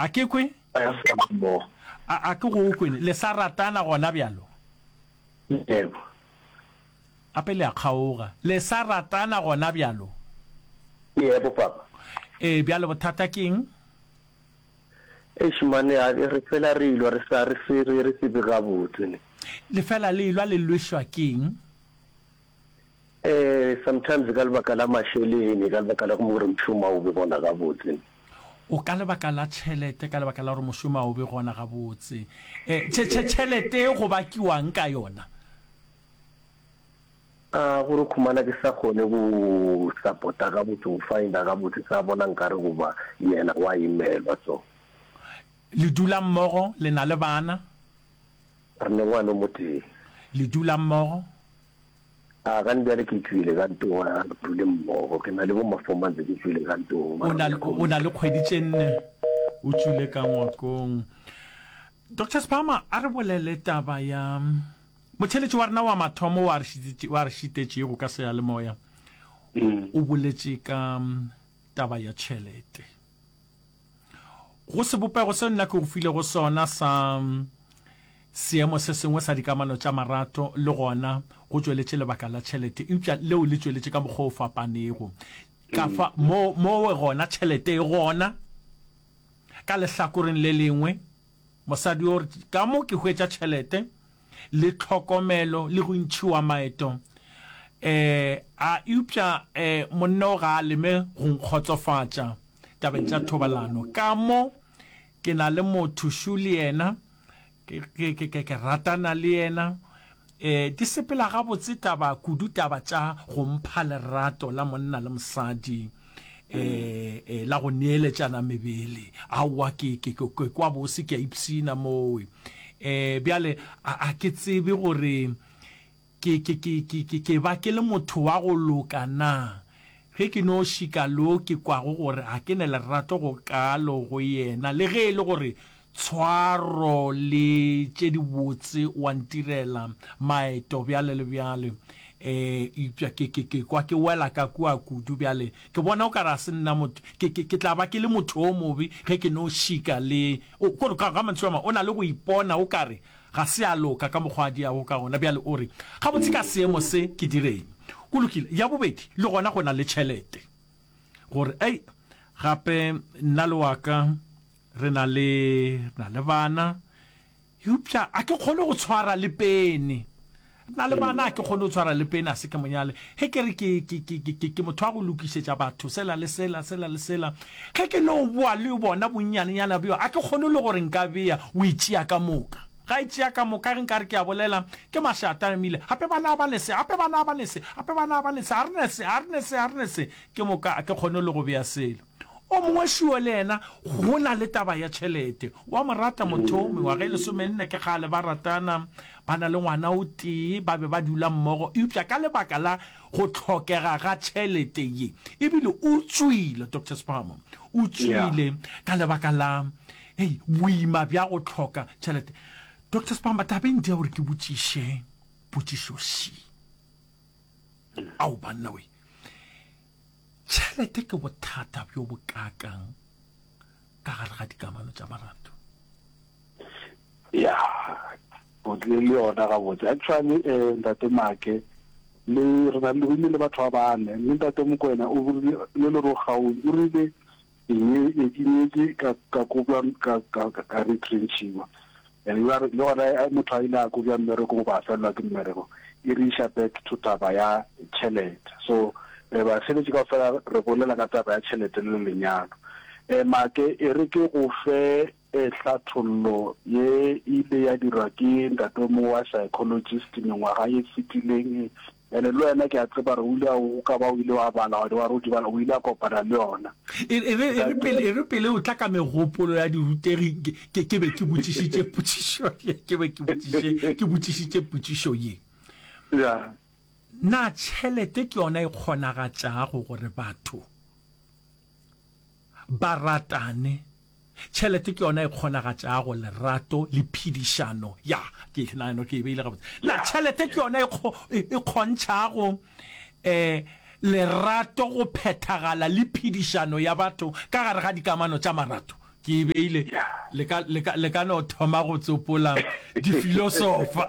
A ke kwe? A sa mmogo. A, a ke go kwe? Le sa ratana gona bjalo? Yebo. Gape le a kgaoga. Le sa ratana gona bjalo? Yebo, papa. Ee, bjale bothata ke eng? Eish mane, a re fela re ilwa re sa re se re re tsebe gabotse ne. Le fela le ilwa le lwešwa ke eng? Eh, sometimes ka lebaka la mašeleng, ka lebaka la gore mošomo a o be gona gabotse. O ka lebaka la tšhelete, ka lebaka la gore mošomo a o be gona gabotse. Eh, tšhe, tšhe, tšhelete e go bakiwang ka yona? A gore khumana ke sa kgone go support-a gabotse, go find-a gabotse, sa bona nkare goba yena wa imelwa so. Le dula mmogo, le na le bana? Re ne ngwana o motee. Le dula mmogo? A gane bjale ke tšwile ka ntong, a re dule mmogo. Ke na le bo ma four months ke tšwile ka ntong. O na, o na le kgwedi tše nne o tšwile ka ngwakong. Doctor Sphama, a re bolele taba ya motheletši wa rena wa mathomo wa re wa re šitetšego ka seyalemoya. O boletše ka taba ya tšhelete. Go sebopego seo nna ke go filego sona sa seemo se sengwe sa dikamano tša marato, le gona go tšweletše lebaka la tšhelete, eupša leo le tšweletše ka mokgwa o fapanego. Ka fa, mo, mowe gona tšhelete e gona. Ka lehlakoreng le lengwe, mosadi o re, Ka mo ke hwetša tšhelete, le tlhokomelo, le go ntšhiwa maeto. Eh, a, eupša, eh, monna o ga a leme go nkgotsofatša tabeng tša thobalano. Ka mo ke na le motho šo le yena, ke, ke, ke, ke, ke ratana le yena. Eh, di sepela gabotse taba, kudu taba tša go mpha lerato la monna le mosadi, eh, eh, la go neeletšana mebele. Aowa, ke, ke, ke, ke kwa bose, ke a ipshina mowe. Eh, bjale, a, a ke tsebe gore ke, ke, ke, ke, ke, ke ba ke le motho wa go loka na, ge ke no šika lo ke kwago gore ga ke ne lerato go kaalo go yena, le ge e le gore Tshwaro le tše dibotse wa ntirela, maeto bjale le bjale. E, eupša ke, ke, ke kwa ke wela ka kua kudu bjale. Ke bona o ka re ga se nna motho, ke, ke, ke tla ba ke le motho o mobe ge ke no šika le, o, kore ka, ka mantšu a mangwe, o na le go ipona o ka re ga se a loka ka mokgwa a diago ka gona. Bjale o re, Gabotse ka seemo se ke direng? Go lokile. Ya bobedi, le gona go na le tšhelete. Gore, ei, gape nna le wa ka, Re na le, re na le bana, eupša a ke kgone go tshwara le pene. Re na le bana, a ke kgone go tshwara le pene, a se ke monyale. Ge ke re ke, ke, ke, ke, ke, ke motho wa go lokišetša batho sela le sela, sela le sela, ge ke no boa le bona bonnyanenyana bjo, a ke kgone le gore nka bea, o e tšea ka moka. Ga e tšea ka moka, ge nka re ke a bolela, ke mašata a emile. Gape bana ba ne se, gape bana ba ne se, gape bana ba ne se, ga re ne se, ga re ne se, ga re ne se. Ke moka a ke kgone le go bea selo. O mongwe šuo le yena go na le taba ya tšhelete. O a mo rata motho o, mengwaga e lesomenne ke kgale ba ratana, ba na le ngwana o tee, ba be ba dula mmogo, eupša ka lebaka la go hlokega ga tšhelete ye, ebile o tšwile, Doctor Sphamo, o tšwile ka lebaka la hei, boima bja go hloka tšhelete. Doctor Sphama, tabeng di ya gore ke botšiše potšišo še. Ao banna we! Tšhelete ke bothata bjo bokaakang ka gare ga dikamano tša marato? Ya, o tlile le yona gabotse. Actually, eh, Ntate Make, le re na le rile le batho ba bane, mme Ntate Mokwena o rile le le Rogaung o rile ke nye ke nyetše ka ka kobja ka ka ka retrenchiwa. And le gona motho a ile a kobja mmereko goba a felelwa ke mmereko, e re iša back to taba ya tšhelete. So basebeletši kaofela re bolela ka taba ya tšhelete le lenyalo. Make e re ke go fe hlathollo ye ile ya dirwa ke ntate o mongwe wa psychologist mengwaga ye fetileng Ene le wena ke a tseba gore o ile o ka ba o ile wa bala wa re o di bala o ile a kopana le yona. E, e re, e re pele, e re pele o tla ka megopolo ya dirutegi, ke, ke be ke botšišitše potšišo ye, ke be ke botšiše, ke botšišitše potšišo ye. Ya. Na tšhelete ke yona e kgonagatšago gore batho ba ratane? Tšhelete ke yona e kgonagatšago lerato le phedišano. Ya, ke nagana ke e beile gabotse. Na tšhelete ke yona e, e, e kgontšhago um lerato go phethagala le phedišano ya batho ka gare ga dikamano tša marato? Ke e beile, le ka, le ka, le ka no thoma go tsopola difilosofa.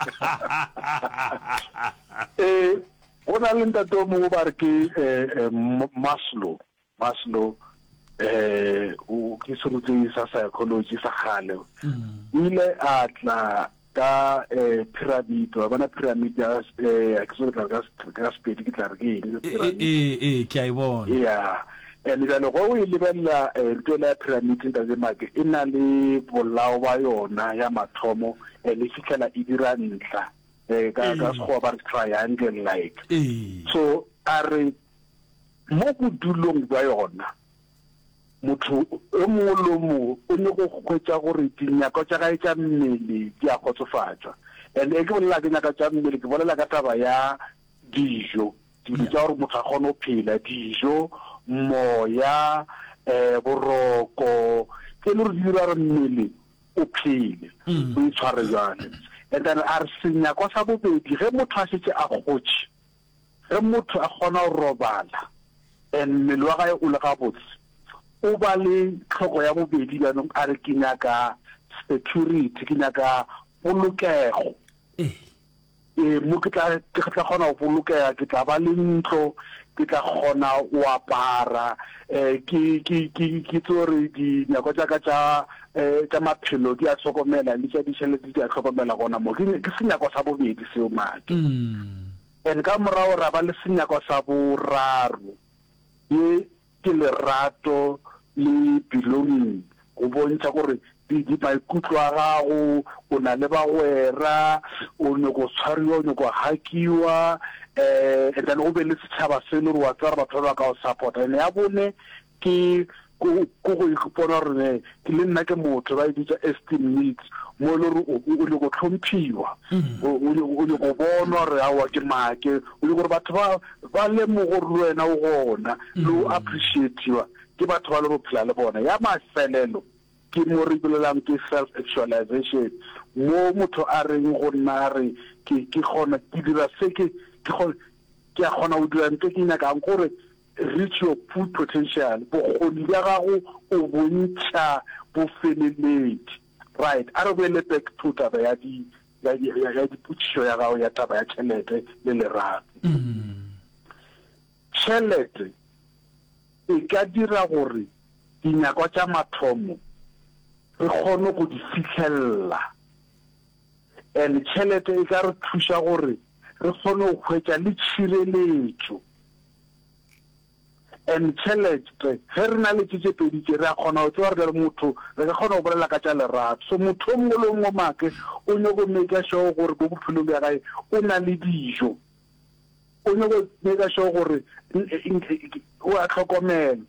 Ee, go na le ntate o mongwe ba re ke eh, eh, Maslow. Maslow eh, o ke serutegi sa psychology sa kgale. Mm. O ile a tla ka eh, pyramid, wa bona pyramid ya eh, ke tsebe tla re ka Sepedi ke tla re ke eng pyramid. Ee, ee, ke a e bona. Yeah. And bjale go o e lebelela eh, ntho ela ya pyramid ntate Make e na le bolao ba yona ya mathomo and e fihlela e dira ntlha eh, ka ka Sekgowa ba re triangle like. So a re mo bodulong bja yona Motho yo mongwe le yo mongwe o nyoko hwetša gore dinyakwa tša gae tša mmele di a kgotsofatšwa. And ge ke bolela ka dinyakwa tša mmele, ke bolela ka taba ya dijo, dilo tša gore motho a kgone go phela, dijo, moya, um boroko, tše e le gore di dira gore mmele o phele, o itshware bjale. And then a re senyakwa sa bobedi, ge motho a šetše a gotše, Ge motho a kgona go robala and mmele wa gae o le gabotse, o ba le tlhoko ya bobedi bjanong a re ke nyaka security, ke nyaka polokego. Ee, mo ke tla ke tla kgona go bolokega, ke tla ba le ntlo, ke tla kgona go apara, um ke ke ke ke tsebe gore dinyakwa tša ka tša um tša maphelo di a hlokomela le tša ditšhelete di a hlokomela gona mo. Ke ke senyakwa sa bobedi seo Make. And ka morago ra ba le senyakwa sa boraro, ye ke lerato le belonging, go bontšha gore di, di maikutlo a gago, o na le bagwera, o nyoko tshwariwa, o nyoko hakiwa, eh, and then go be le setšhaba se le gore wa tseba gore batho ba ba ka go support-a. And ya bone ke ko ko go ipona gore ne ke le nna ke motho, ba e bitša esteem needs, mo e le gore o, o nyoko hlomphiwa, o, o nyoko, o nyoko bonwa gore aowa ke make, o nyoko gore batho ba, ba lemoge gore le wena o gona, le o appreciate-iwa ke batho ba le go phela le bona. Ya mafelelo ke mo re bolelang ke self actualization, mo motho a reng go nna a re ke, ke kgona, ke dira se ke, ke kgona, ke a kgona go dira ntho e ke e nyakang, gore Reach your full potential, bokgoni bja gago o bo ntšha bo feleletše. Right, a re boele back to taba ya di, ya, ya, ya dipotšišo ya gago ya taba ya tšhelete le lerato. Tšhelete e ka dira gore dinyakwa tša mathomo re kgone go di fihlelela, and tšhelete e ka re thuša gore re kgone go hwetša le tšhireletšo. And tšhelete, ge re na le tše tše pedi tše, re a kgona go tseba gore bjale motho, re ka kgona go bolela ka tša lerato. So motho o mongwe le o mongwe make o nyako maker sure gore mo bophelong bja gae o na le dijo. O nyako maker sure gore o a hlokomelwa.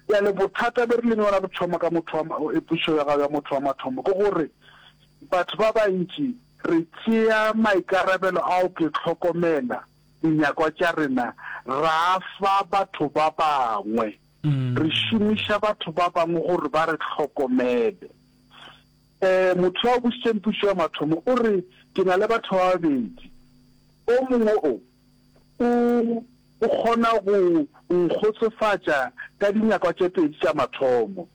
Bjale bothata be re leng yona re thoma ka motho wa, potšišo ya gago ya motho wa mathomo ke gore batho ba bantši re tšea maikarabelo ao ke hlokomela dinyakwa tša rena ra fa batho ba bangwe. Re šomiša batho ba bangwe gore ba re hlokomele. Um motho yo a bušitšeng pušo ya mathomo o re, Ke na le batho ba babedi. O mongwe o, o, o kgona go nkgotsofatša ka dinyakwa tše pedi tša mathomo,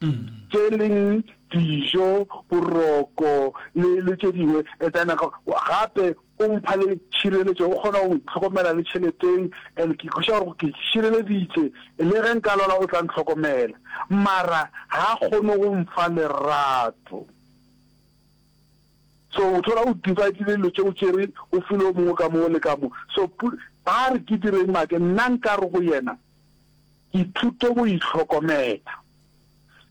tše leng dijo, boroko le, le tše dingwe. And then gape O mpha le tšhireletšo, o kgona go ntlhokomela le tšheleteng, and ke kwešiša gore ke šireleditše, le ge nka lwala o tla ntlhokomela. Mara ga a kgone go mfa lerato. So o thola o dividile dilo tše o tšere o file o mongwe ka mo le ka mo. So ba re ke direng make, nna nka re go yena ithute go itlhokomela.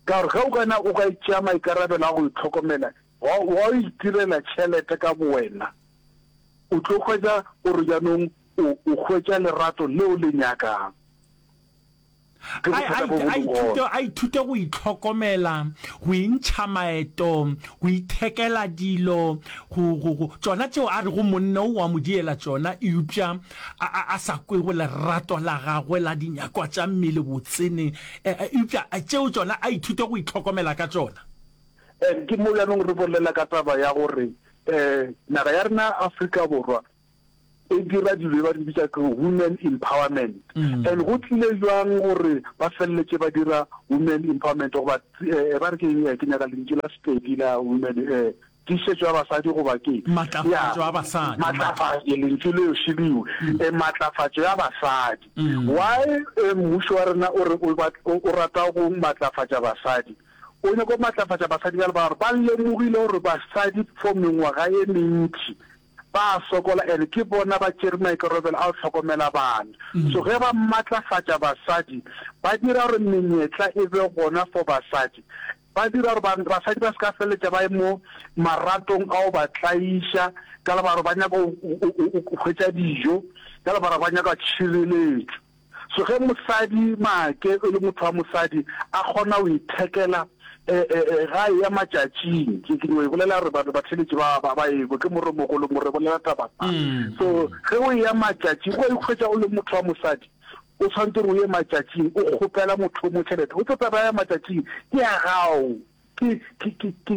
Ka gore ge o ka na o ka tšea maikarabelo a go itlhokomela, Wa, wa itirela tšhelete ka bowena, o tlo hwetša gore bjanong o, o hwetša lerato leo le nyakang. Ke A, a, bothata bo bo a leng ithute, gona. a ithute go itlhokomela, go intšha maeto, go ithekela dilo, go, go, go, tšona tšeo a rego monna o wa mo diela tšona, eupša a, a, a sa kwego lerato la gagwe la dinyakwa tša mmele botsene, e, e, eupša tšeo tšona a ithute go itlhokomela ka tšona. And ke mo bjanong re bolela ka taba ya gore um naga ya rena Afrika Borwa. E dira dilo ba di bitša ke women empowerment. And go tlile bjang gore ba feleletše ba dira women empowerment goba ba re ke eng, ke nyaka lentšu la Sepedi la women, tiišetšo ya basadi goba ke eng? Matlafatšo ya basadi. Matlafatšo, lentšu leo šeliwe, matlafatšo ya basadi. Why mmušo wa rena o re o rata go matlafatša basadi? O nyaka go matlafatša basadi ka lebaka la gore ba lemogile gore basadi for mengwaga e mentši ba a sokola and ke bona ba tšere maikarabelo a go hlokomela bana. So ge ba matlafatša basadi, ba dira gore menyetla e be gona for basadi. Ba dira gore basadi ba se ka feleletša ba ye mo maratong a go ba tlaiša ka lebaka la gore ba nyaka go hwetša dijo, ka lebaka la gore ba nyaka tšhireletšo. So ge mosadi make e le motho wa mosadi a kgona go ithekela ga eya matšatšing, ke ke no e bolela gore batho batheletši ba ba ba ekwe, ke moremogolo mo re bolela taba fa. So ge o eya matšatšing o ikhwetša o le motho wa mosadi o tshwanetse gore o ye matšatšing o kgopela motho o mo tšhelete, o tlo taba ya matšatšing ke ya gago. Ke, ke, ke, ke,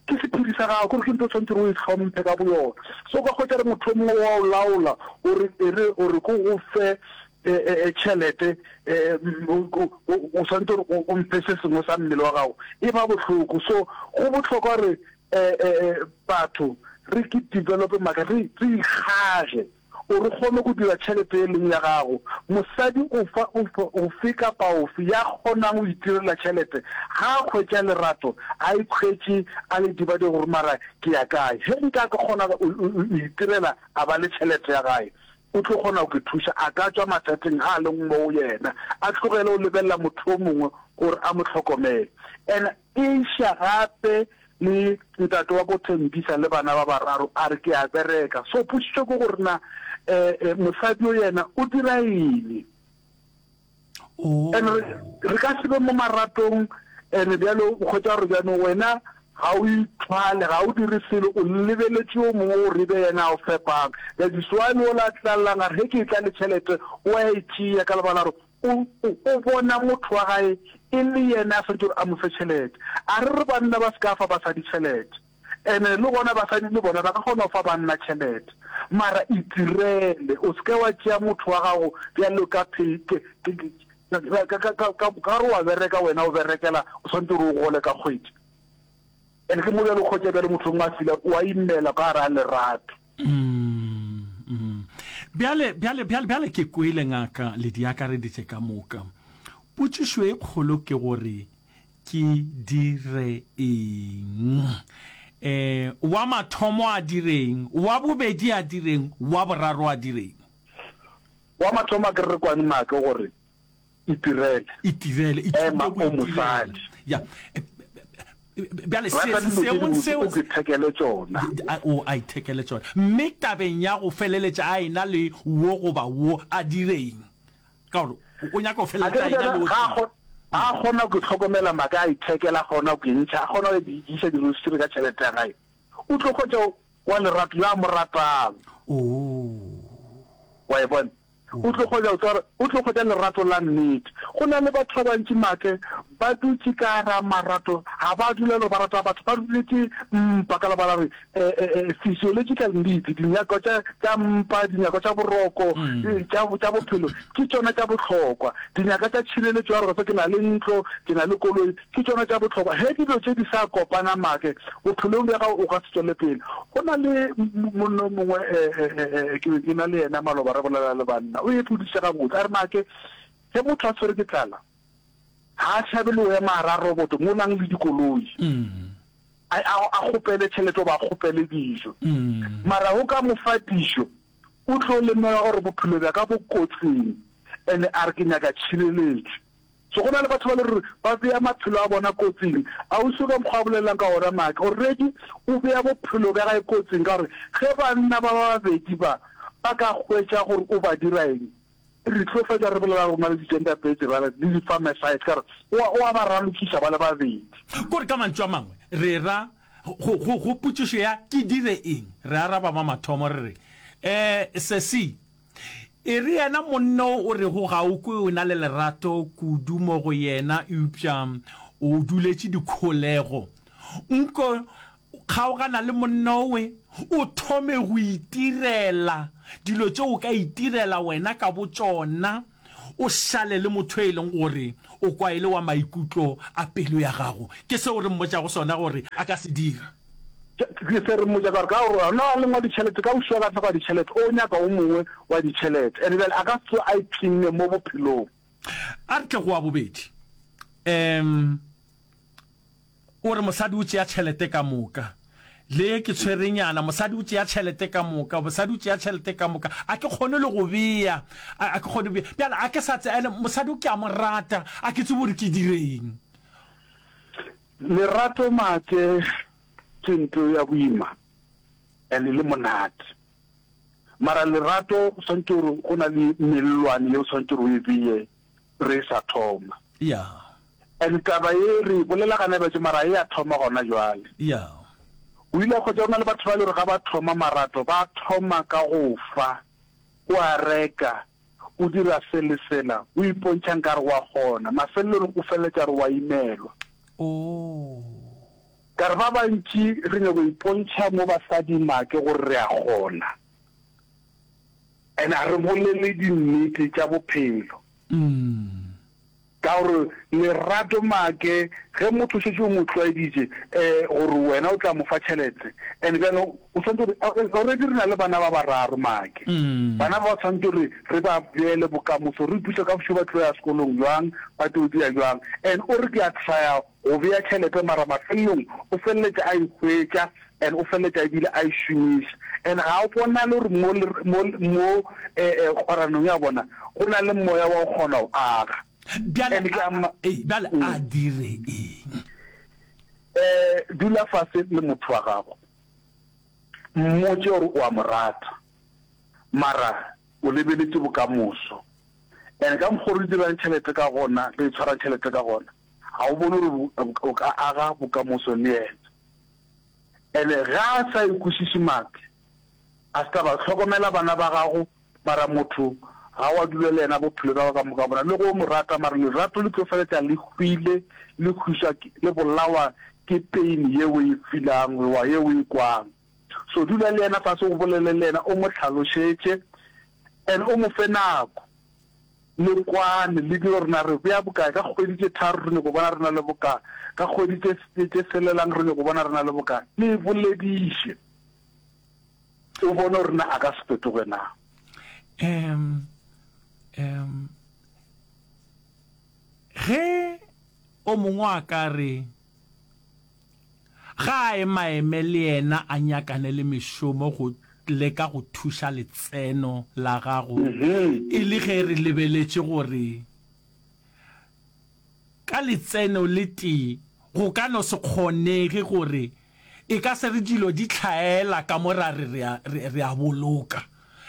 ke sephiri sa gago, kore ke ntho o tshwanetse gore o e hlomphe ka boyona. So o ka hwetša re motho o mongwe wa o laola, o re, e re, o re ko go fe e, e, e, tšhelete, e, o, o, o tshwanetse gore o, o mphe se sengwe sa mmele wa gago. E ba bohloko. So go bohlokwa gore e, e, e, batho re ke develope maka, re, re ikgage. Gore o kgone go dira tšhelete e leng ya gago. Mosadi ofa, ofe, ofe kapa ofe ya kgonang go itirela tšhelete, ga a hwetša lerato, a ikhwetše a le dibadeng gore mara ke ya kae. Ge nka kgona go itirela a ba le tšhelete ya gae, o tlo kgona go ke thuša. A ka tšwa mathateng a a leng mo go yena, a tlogele go lebelela motho yo mongwe gore a mo hlokomele. And Iša gape le ntate wa ko Thembisa le bana ba bararo a re ke a bereka. So potšišo ke gore na mosadi yo yena o dira eng? And re re ka se be mo maratong and bjale o hwetša gore bjanong wena ga o ithwale, ga o dire selo, o lebeletše yo mongwe gore e be yena a o fepang. That is why le ola a tlallang a re ge ke etla le tšhelete o a e tšea ka lebaka la gore O, o, o bona motho wa gae e le yena a swanetše gore a mo fe tšhelete. A re re banna ba se ka fa basadi tšhelete. Ene le gona basadi le bona ba ka kgona go fa banna tšhelete. Mara itirele, o se ke wa tšea motho wa gago bjalo ka phe, ke, ke, ke, ka, ka, ka, ka, ka gore wa bereka wena o berekela, o swanetše gore o gole ka kgwedi. Ene ke mo bjalo o hwetša bjalo motho o mongwe a feel-a o a imela ka gare ga lerato. Mm, mm. Bjale, bjale, bjale, bjale ke kwele ngaka le di akareditše ka moka. Potšišo e kgolo ke gore ke dire eng? Eh, wa mathomo a direng, wa bobedi a direng, wa boraro a direng? Wa mathomo a ke re re kwane make gore Itirele. Itirele, ithute Ema go o itirela. mosadi. Ya. Bjale se, Rata dilo tše seemong dibotse seo o ithekele tšona. A, o a ithekele tšona. Mme tabeng ya go feleletša a ena le wo goba wo, a direng? Ka gore o nyaka go A feleletša ke a re ena le bjale o ga a tee. kgo, ga a kgona go itlhokomela maka a ithekela, a kgona go intšha, a kgona go iša dirosiri ka tšhelete ya gae, o tlo hwetša wa lerato yo a mo ratang. Oo. Wa e bona? O tlo hwetša, o tlo hwetša lerato la nnete. Go na le batho ba bantši make ba dutše ka gara marato, ga ba dula le ba rata batho, ba duletše mpa ka lebaka la gore physiological needs, dinyakwa tša, tša mpa, dinyakwa tša boroko, tša, tša bophelo, ke tšona tša bohlokwa. Dinyakwa tša tšhireletšo ya gore ke na le ntlo, ke na le koloi, Ke tšona tša bohlokwa. Ge dilo tše di sa kopana make, bophelong bja gago o ka se tšwele pele. Go na le monna o mongwe, ke be ke na le yena maloba re bolela le banna, o epodiša gabotse, a re, Make, ge motho a tshwerwe ke tlala, ga a tšhabe le go ema gare a roboto mo nang le dikoloi, a, a, a kgopele tšhelete goba a kgopele dijo. Mara go ka mo fa dijo, o tlo lemoga gore bophelo bja ka bo kotsing, and-e a re ke nyaka tšhireletšo. So go na le batho ba le gore ba bea maphelo a bona kotsing. Ausi ka mokgwa a bolelang ka gona Maake, already o bea bophelo bja gae kotsing ka gore ge banna ba ba babedi ba ba ka hwetša gore o ba dira eng, re tlo fetša re bolela gore o na le di-gender based violence le di-femicide ka gore o a o a ba ralokiša ba le babedi. Kore ka mantšu a mangwe re ra go, go, go potšišo ya ke dire eng, re araba ma mathomo re re, Eh, sesi, E re yena monna o o rego ga o kwe o na le lerato kudu mo go yena eupša o duletše dikholego. Nko. Kgaogana le monna owe, o thome go itirela dilo tše o ka itirela wena ka botšona, o šale le motho e leng gore o kwa e le wa maikutlo a pelo ya gago. Ke seo re mmotšago sona gore a ka se dira. Ke se re mmotša ka gore ka gore gona a leng wa ditšhelete, ka bošego a hloka ditšhelete, o nyaka o mongwe wa ditšhelete, and bjale a ka se tsoge a ipshinne mo bophelong. A re tle go wa bobedi. Um. O re mosadi o tšea tšhelete ka moka. Le ke tshwerenyana, mosadi o tšea tšhelete ka moka, mosadi o tšea tšhelete ka moka. A ke kgone le go bea, a, a ke kgone bea. Bjale a ke sa tse, ene mosadi o ke a mo rata, a ke tsebe gore ke direng. Lerato Maake ke nto ya boima and le monate. Mara lerato o swanetše gore go na le mellwane ye o swanetše gore o e beye re sa thoma. Yeah. And taba ye re e bolela gana bjatše mara e a thoma gona jwale. Yeah. O ile a hwetša go na le batho ba e le gore ga ba thoma marato ba thoma ka go fa, o a reka, o dira se le sela, o ipontšha nkare wa kgona, mafelelong o feleletša re wa imelwa. Oh. Ka re ba bantši re nyako ipontšha mo basading make gore re a kgona. And a re bolele dinnete tša bophelo. Ka gore lerato make ge motho o šetše o mo tlwaeditše um gore wena o tla mo fa tšhelete and bjale o swanetše gore already re na le bana ba bararo make. Bana ba ba swanetše gore re ba beele bokamoso, re ipotšiše ka bošego ba tlo ya sekolong bjang, ba tlo dira bjang. And o re ke a trya go bea tšhelete mara mafelelong o feleletša a e hwetša and o feleletša ebile a e šomiša and ga o bonale gore mo mo mo kgweranong ya bona go na le moya wa go kgona go aga. Bjale And ke a ma- ee, bjale a dire eng? Eh, dula fase le motho wa gago, mmotše gore o a mo rata, mara o lebeletše bokamoso. And ka mokgwa o re dirang tšhelete ka gona, re tshwarang tšhelete ka gona, ga o bone gore o ka aga bokamoso le yena. Ene ge a sa e kwešiše make a se taba hlokomela bana ba gago mara motho ga wa dula le yena bophelo bja gago ka moka bona le go mo rata mara lerato le tlo feletša le hwile le hwiswa le bolawa ke pain ye o e feelang goba ye o e kwang so dula le yena fase o bolele le yena o mo hlalošetše and o mo fe nako. Le kwane, le dire gore na re bea bokae. Ka kgwedi tše tharo re nyoko bona re na le bokae. Ka kgwedi tše, tše selelang re nyoko bona re na le bokae. Le bolediše, o bone gore na a ka se fetoge na. Um, um, ge o mongwe a ka re Ga a emaeme le yena a nyakane le mešomo go leka go thuša letseno la gago e le ge re lebeletše gore ka letseno le tee go ka no se kgonege gore e ka se re dilo di hlaela ka mo ra re re a boloka.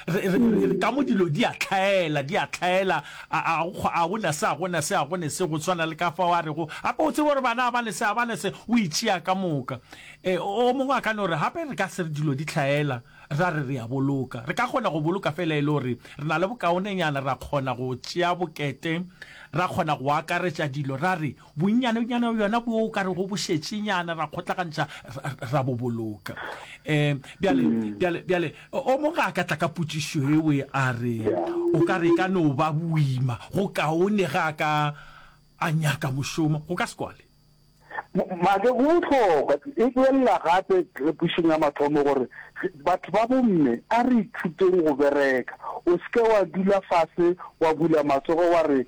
Re, re, re, ka mo dilo di a hlaela, di a hlaela, a, a, a go na se, a go na se, a go ne se, go swana le ka fao a rego, gape o tsebe gore bana a ba ne se, a ba ne se, o itšea ka moka. E, o mongwe a ka no re, gape re ka se re dilo di hlaela, ra re re a boloka. Re ka kgona go boloka fela e le gore re na le bokaonenyana, ra kgona go tšea bokete, ra kgona go akaretša dilo, ra re, Bonnyanenyana bjona bjo o ka rego bo šetšenyana, ra kgotlagantšha, ra, ra bo boloka. Um, bjale, bjale, bjale, o mongwe ga a ka tla ka potšišo ewe a re, o ka re e ka no ba boima, go kaone ge a ka a nyaka mošomo, go ka se kwale. Make, go bohlokwa, e boelela gape pušong ya mathomo gore batho ba bomme a re ithuteng go bereka. O se ke wa dula fase wa bula matsogo wa re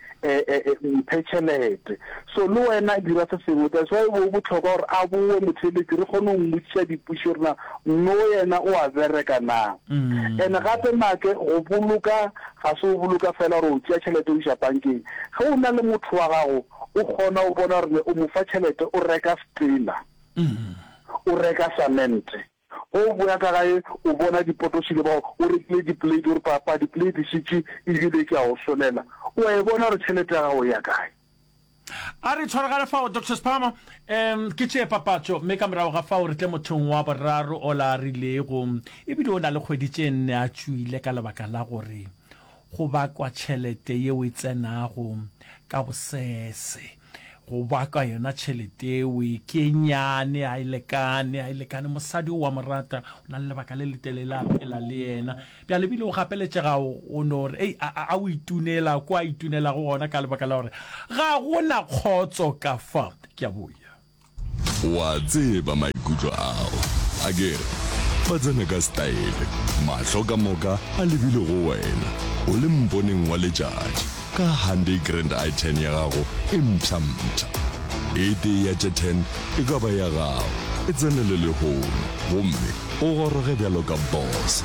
mphe tšhelete. So le wena dira se sengwe. That's why go bohlokwa gore a bowe motheeletši re kgone go mmotšiša dipotšišo gore na no yena o a bereka na. And gape make go boloka ga se go boloka fela gore o tšea tšhelete o iša bankeng. Ge o na le motho wa gago o kgona go bona gore o mo fa tšhelete o reka stena, o reka samente. Ge o boya ka gae o bona dipotošile bao o rekile diplate o re papa diplate šetše ebile ke a o solela. O a e bona gore tšhelete ya gago e ya kae. A re tshwaragane fao Doctor Sphama. Um ke tšee papatšo mme ka morago ga fao re tle mothong wa boraro ola a rilego ebile o na le kgwedi tše nne a tšwile ka lebaka la gore go bakwa tšhelete yeo e tsenago ka bosese. Go baka yona tšhelete eo ke e nnyane, ga e lekane, ga e lekane. Mosadi o wa mo rata, o na le lebaka le letelele a phela le yena. Bjale ebile o gapeletšega o no re, ei, a, a o itunela ko a itunelago gona ka lebaka la gore ga go na kgotso ka fa. Ke a boya. O a tseba maikutlo ao, akere? Ba tsena ka setaele, mahlo ka moka a lebile go wena, o le mponeng wa letšatši, ka Hyundai Grand i10 ya gago e mpsha-mpsha. E tee ya tše 10 e ka ba ya gago. E tsenele lehono gomme o goroge bjalo ka boss.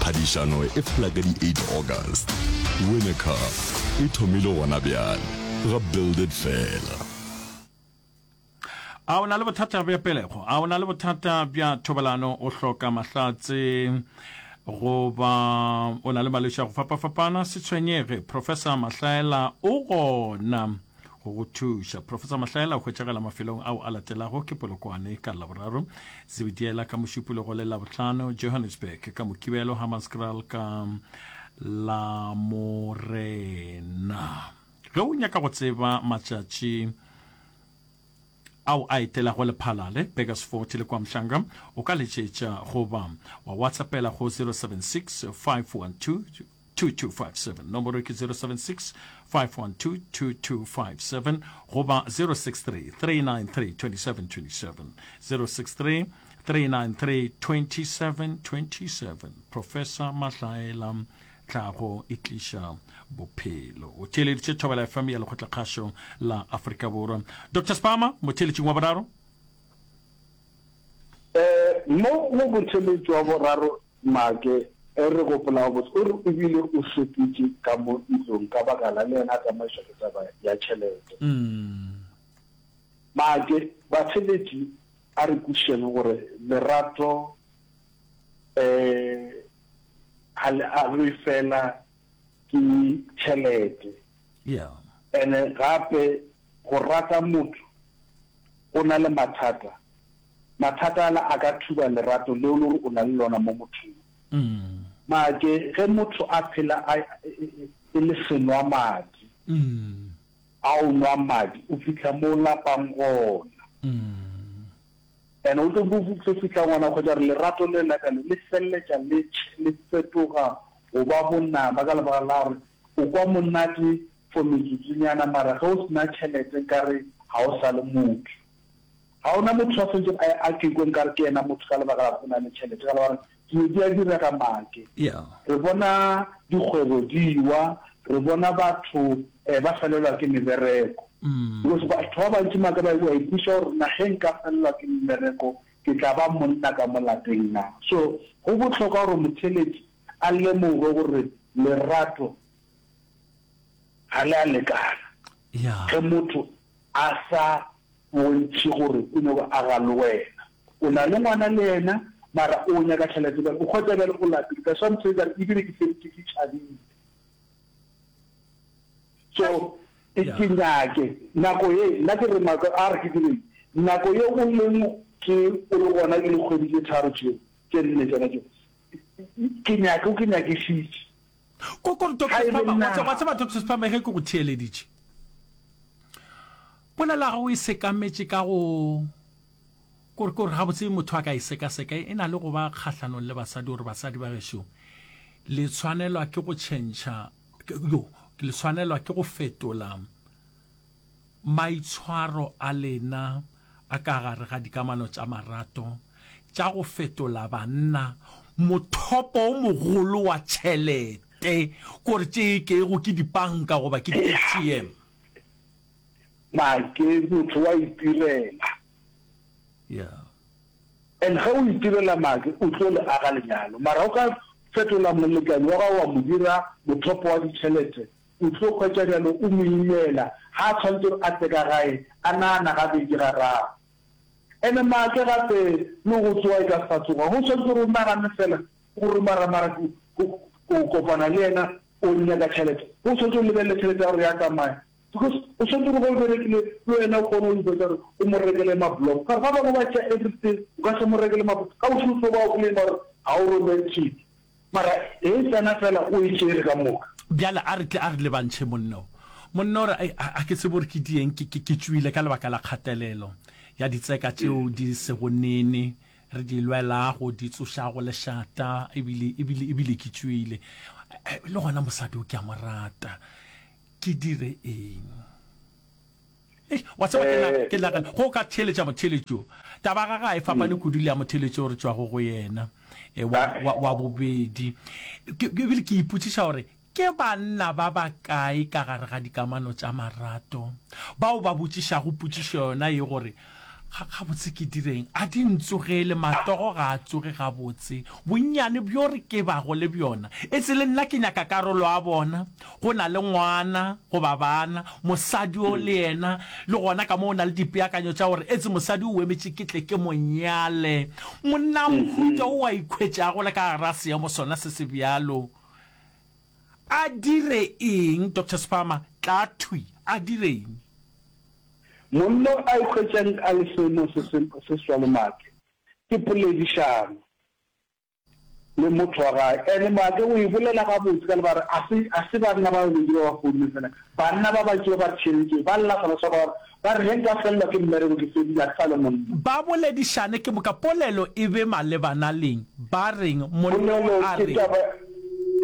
Phadišano e fela ka di 8 August. Win a car e thomile gona bjale ga Build It Fela. A o na le bothata bja pelego? A o na le bothata bja thobalano? O hloka mahlatse goba o na le malwetši a go fapafapana? Se tshwenyege, Professor Mahlaela o gona go go thuša. Professor Mahlaela o hwetšagala mafelong ao a latelago ke Polokwane ka Laboraro, Zebediela ka Mošupologo le Labohlano, Johannesburg ka Mokibelo, Hammanskraal ka Lamorena. Ge o nyaka go tseba matšatši ao a etelago Lephalale, Burgersfort le KwaMhlanga, o ka letšetša goba wa WhatsAppela go 076 512 2257. Nomoro ke 076 512 2257 goba 063 393 2727. 063 393 2727. Professor Mahlaela Tlhago e tliša bophelo. O theeleditše Thobela FM ya Lekgotlakgašo la Afrika Borwa. Doctor Spama, motheeletšing wa boraro. Eh, mo go motheeletši wa boraro Make, e re gopolago botse, o re o bile o sepetše ka mo ntlong ka baka la le yena a tsamaišwa ke taba ya tšhelete. Make, batheeletši a re kwešišeng gore lerato eh, ga le agwe fela ke tšhelete. Yeah. Ene gape go rata motho o na le mathata, mathata ala a ka thuba lerato leo le gore o na le lona mo mothong. Mm. Make ge motho a phela a e le senwa madi, mm. a o nwa madi o fihla mo o lapang gona. Mm. And o tlo tlo fihla ngwana hwetša gore lerato le la ka le le feleletša le le fetoga go ba bonaba ka lebaka la gore o kwa monate for metsotsonyana mara ge o sena tšhelete nkare ga o sa le motho. Ga ona motho a swanetšego a a ke kwe nkare ke yena motho ka lebaka la gore o na le tšhelete ka lebaka la gore dilo di a direga make. Yeah. Re bona dikgwebo di wa, re bona batho ba felelwa ke mebereko. Because batho ba bantši maka ba wa ipotšiša gore na ge nka felelwa ke mmereko ke tla ba monna ka mo lapeng na. So go bohlokwa gore motheeletši a lemoge gore lerato ga le a lekana ge motho a sa bontšhe gore o nyoko aga le wena. O na le ngwana le yena mara o nyaka tšhelete bjale o hwetša bjale o lapile. That's why motheeletši a re ebile ke feditše ke tšhabile. So ke nyake nako ye nna ke re maka a re ke direng nako ye o leng ke o le gona ke dikgwedi tše tharo tšeo tše nne tšona tšeo ke nyake o ke nyakišitše. Ko ko Doctor Sphama, wa tseba Doctor Sphama ge ke go theeleditše polelo ya gago e sekametše ka go kore kore gabotse motho a ka e sekaseka e na le go ba kgahlanong le basadi gore basadi ba gešo le tshwanelwa ke go tšhentšha yo le tshwanelwa ke go fetola maitshwaro a lena a ka gare ga dikamano tša marato tša go fetola banna mothopo o mogolo wa tšhelete kore tše e kego ke dipanka goba ke di-ATM. Make motho wa itirela. Yeah. And ge o itirela make o tlo le aga lenyalo. Mara o ka fetola molekane wa gago wa mo dira mothopo wa ditšhelete, o tlo hwetša bjalo o mo imela ga a tshwanetse gore a tle ka gae a nagana gabedi gararo. Ene make gape le go tsoga e ka se sa tsoga. Go tshwanetse gore o nagane fela gore mara mara o kopana le yena o nyaka tšhelete. Go tshwanetse o lebelele tšhelete ya gore ya tsamaya. Because o swanetše gore ge o berekile le wena o kgone go ipetsa gore o mo rekele ma-block. Ka gore ba bangwe ba tšea everything, o ka se mo rekele ma-block. Ka bošego o tlo ba o claima gore ga o romantic. Mara e tsena fela o e tšere ka moka. Bjale a re tle a re lebantšhe monna o. Monna o re, Ai, a, a ke tsebe gore ke dieng, ke, ke, ke tšwile ka lebaka la kgatelelo ya ditseka tšeo di sego nene re di lwelago, di tsošago lešata, ebile, ebile, ebile ke tšwile. Le gona mosadi o ke a mo rata. Ke dire eng? Eish, wa tseba ke na, eh. ke nagana go ka theeletša motheeletši o. Taba ga ga e fapane mm. kudu le ya motheeletši o re tšwago go yena e, wa, ah. wa, wa bobedi. Ebile ke ipotšiša gore ke banna ba bakae ka gare ga dikamano tša marato bao ba botšišago potšišo yona ye gore Ga, gabotse ke direng? A di ntsogele, matsogo ga a tsoge gabotse. Bonnyane bjo re ke bago le bjona, etse le nna ke nyaka karolo ya bona. Go na le ngwana goba bana, mosadi o le yena, le gona ka mo o na le dipeakanyo tša gore etse mosadi o emetše ke tle ke mo nyale. Monna mohuta o a ikhwetšago le ka gara seemo sona se se bjalo, a dire eng? Doctor Sphama, tla thwi, a dire eng? Monna a ikhwetšang a le seemong se se se swalo Maake, ke poledišano le motho wa gae. Ene Maake o e bolela gabotse ka lebaka a se a se banna ba babedi ba ba founne fela, banna ba bantši ba ba theeleditšego ba lla sona sa ba ba re ge nka felelwa ke mmereko ke fedile a ke sa le monna. Ba boledišane ke moka polelo e be malebana leng? Ba reng? Monna o a reng?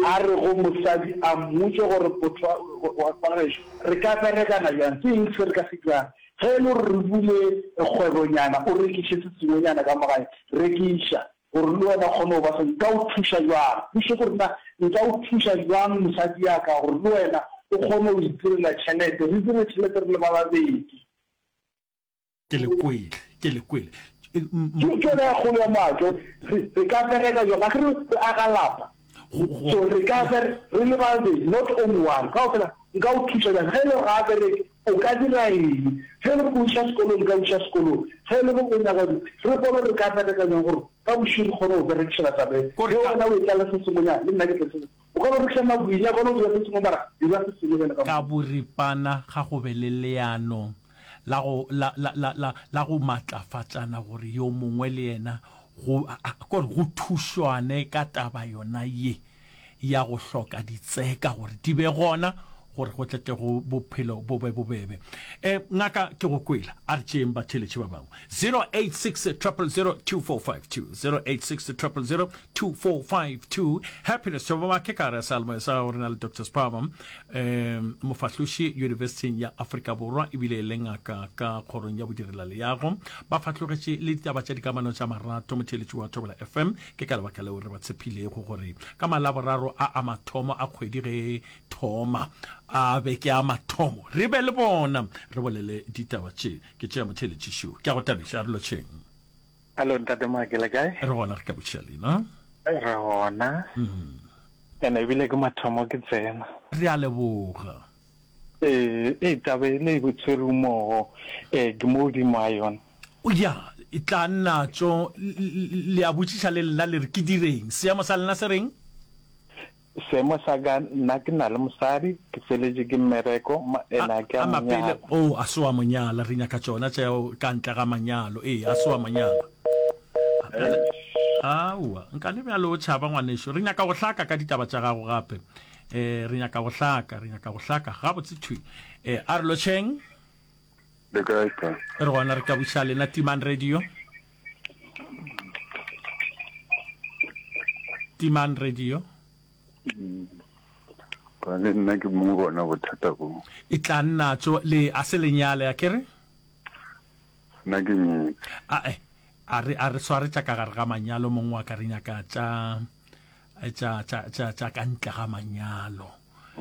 A re go mosadi a mmotše gore motho wa wa gešo Re ka berekana bjang? Ke eng se re ka se dirang? Ge e le gore re bule kgwebonyana, o rekiše se sengwenyana ka mo gae, rekiša, gore le wena o kgone go ba se. Nka o thuša bjang? Potšišo ke gore na nka o thuša bjang mosadi ya ka gore le wena o kgone go itirela tšhelete, re dire tšhelete re le ba babedi. Ke le kwele, ke le kwele. Ke ke yona ya kgolo ya maake. Re re ka bereka jwang? Akere re aga lapa. So re ka ber re le babedi, not only one. Kaofela nka o thuša bjang? Ge e le gore ga a bereke, o ka dira eng? Ge e le gore o iša sekolong, nka o iša sekolong. Ge e le gore o nyaka re bone gore re ka bereka jwang gore ka bošego re kgone go berekišana taba e. Ge wena o etla le se sengwenyana, le nna ke tle se sengwe. O ka no rekiša magwinya, o ka no dira se sengwe mara dira se sengwe bjale ka Ka boripana ga go be le leano la go, la, la, la, la, la go matlafatšana gore yo mongwe le yena go, a, a, kore go thušwane ka taba yona ye ya go hloka ditseka gore di be gona gore go tle tle go bophelo bo be bobebe. E, ngaka ke go kwela, a re tšeeng batheeletši ba bangwe. 086 000 2452, 086 000 2452. Happiness Tshobamake ka gare ga seyalemoya sa gago re na le Doctor Sphama um mofahloši Yunibesithing ya Afrika Borwa ebile e le ngaka ka kgorong ya bodirelaleago. Ba fahlogetše le ditaba tša dikamano tša marato motheeletši wa Thobela FM. Ke ka lebaka leo re ba tshephilego gore ka Malaboraro a a mathomo a kgwedi ge thoma a be ke a mathomo re be le bona re bolele ditaba tše. Ke tšea motheeletši šo. Ke a go tabiša, re lotšheng. Hallo ntate Maake le kae? Re gona re ka botšiša lena. Re gona. Mm. Ene ebile ke mathomo ke tsena. Re a leboga. Ee, ee taba e le e tshwere mmogo eh ke mo godimo ga yona. Ya, e tla nna tšo le a botšiša le lena le re ke direng? Seemo sa lena se reng? Seemo sa ka, nna ke na le mosadi, ke feletše ke mmereko, ene a ke a mo nyala. Oh, a se wa mo nyala, re nyaka tšona tšeo ka ntle ga manyalo. Ee, a se wa mo nyala. Aowa, nka le bjalo o tšhaba ngwanešo. Re nyaka go hlaka ka ditaba tša gago gape. Eh, re nyaka go hlaka, re nyaka go hlaka gabotse thwi. Eh, a re lotšheng. Le kae ka? Re gona re ka buša lena Timang Radio. Timang radio. Ka le nna ke mong bona bothata bo. E tla nna tso le a se lenyale a kere? Nna ke nyetse. A e a re a re sware tša ka gare ga manyalo mong wa ka re nyaka tša tša tša tša tša ka ntle ga manyalo.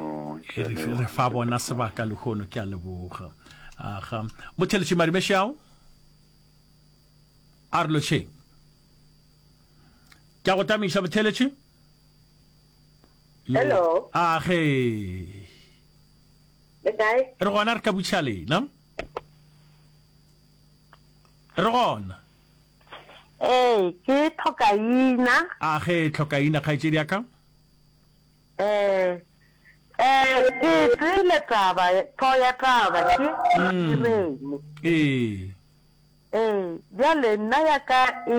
Oh, e re re fa bona sebaka lehono ke a leboga. Aga. Motheletši Madimešao. A re lotšheng. Ke a go tamiša motheletši. Hello. A ge. Le kae? Re gona re ka butša lena. Re gona. Ee, ke tlhokaina. A ge tlhokaina kgaetšedi ya ka. Ee. Ee, ke tsele taba, tho ya taba ke mm. reng. Ee. Ee, bjale nna ya ka e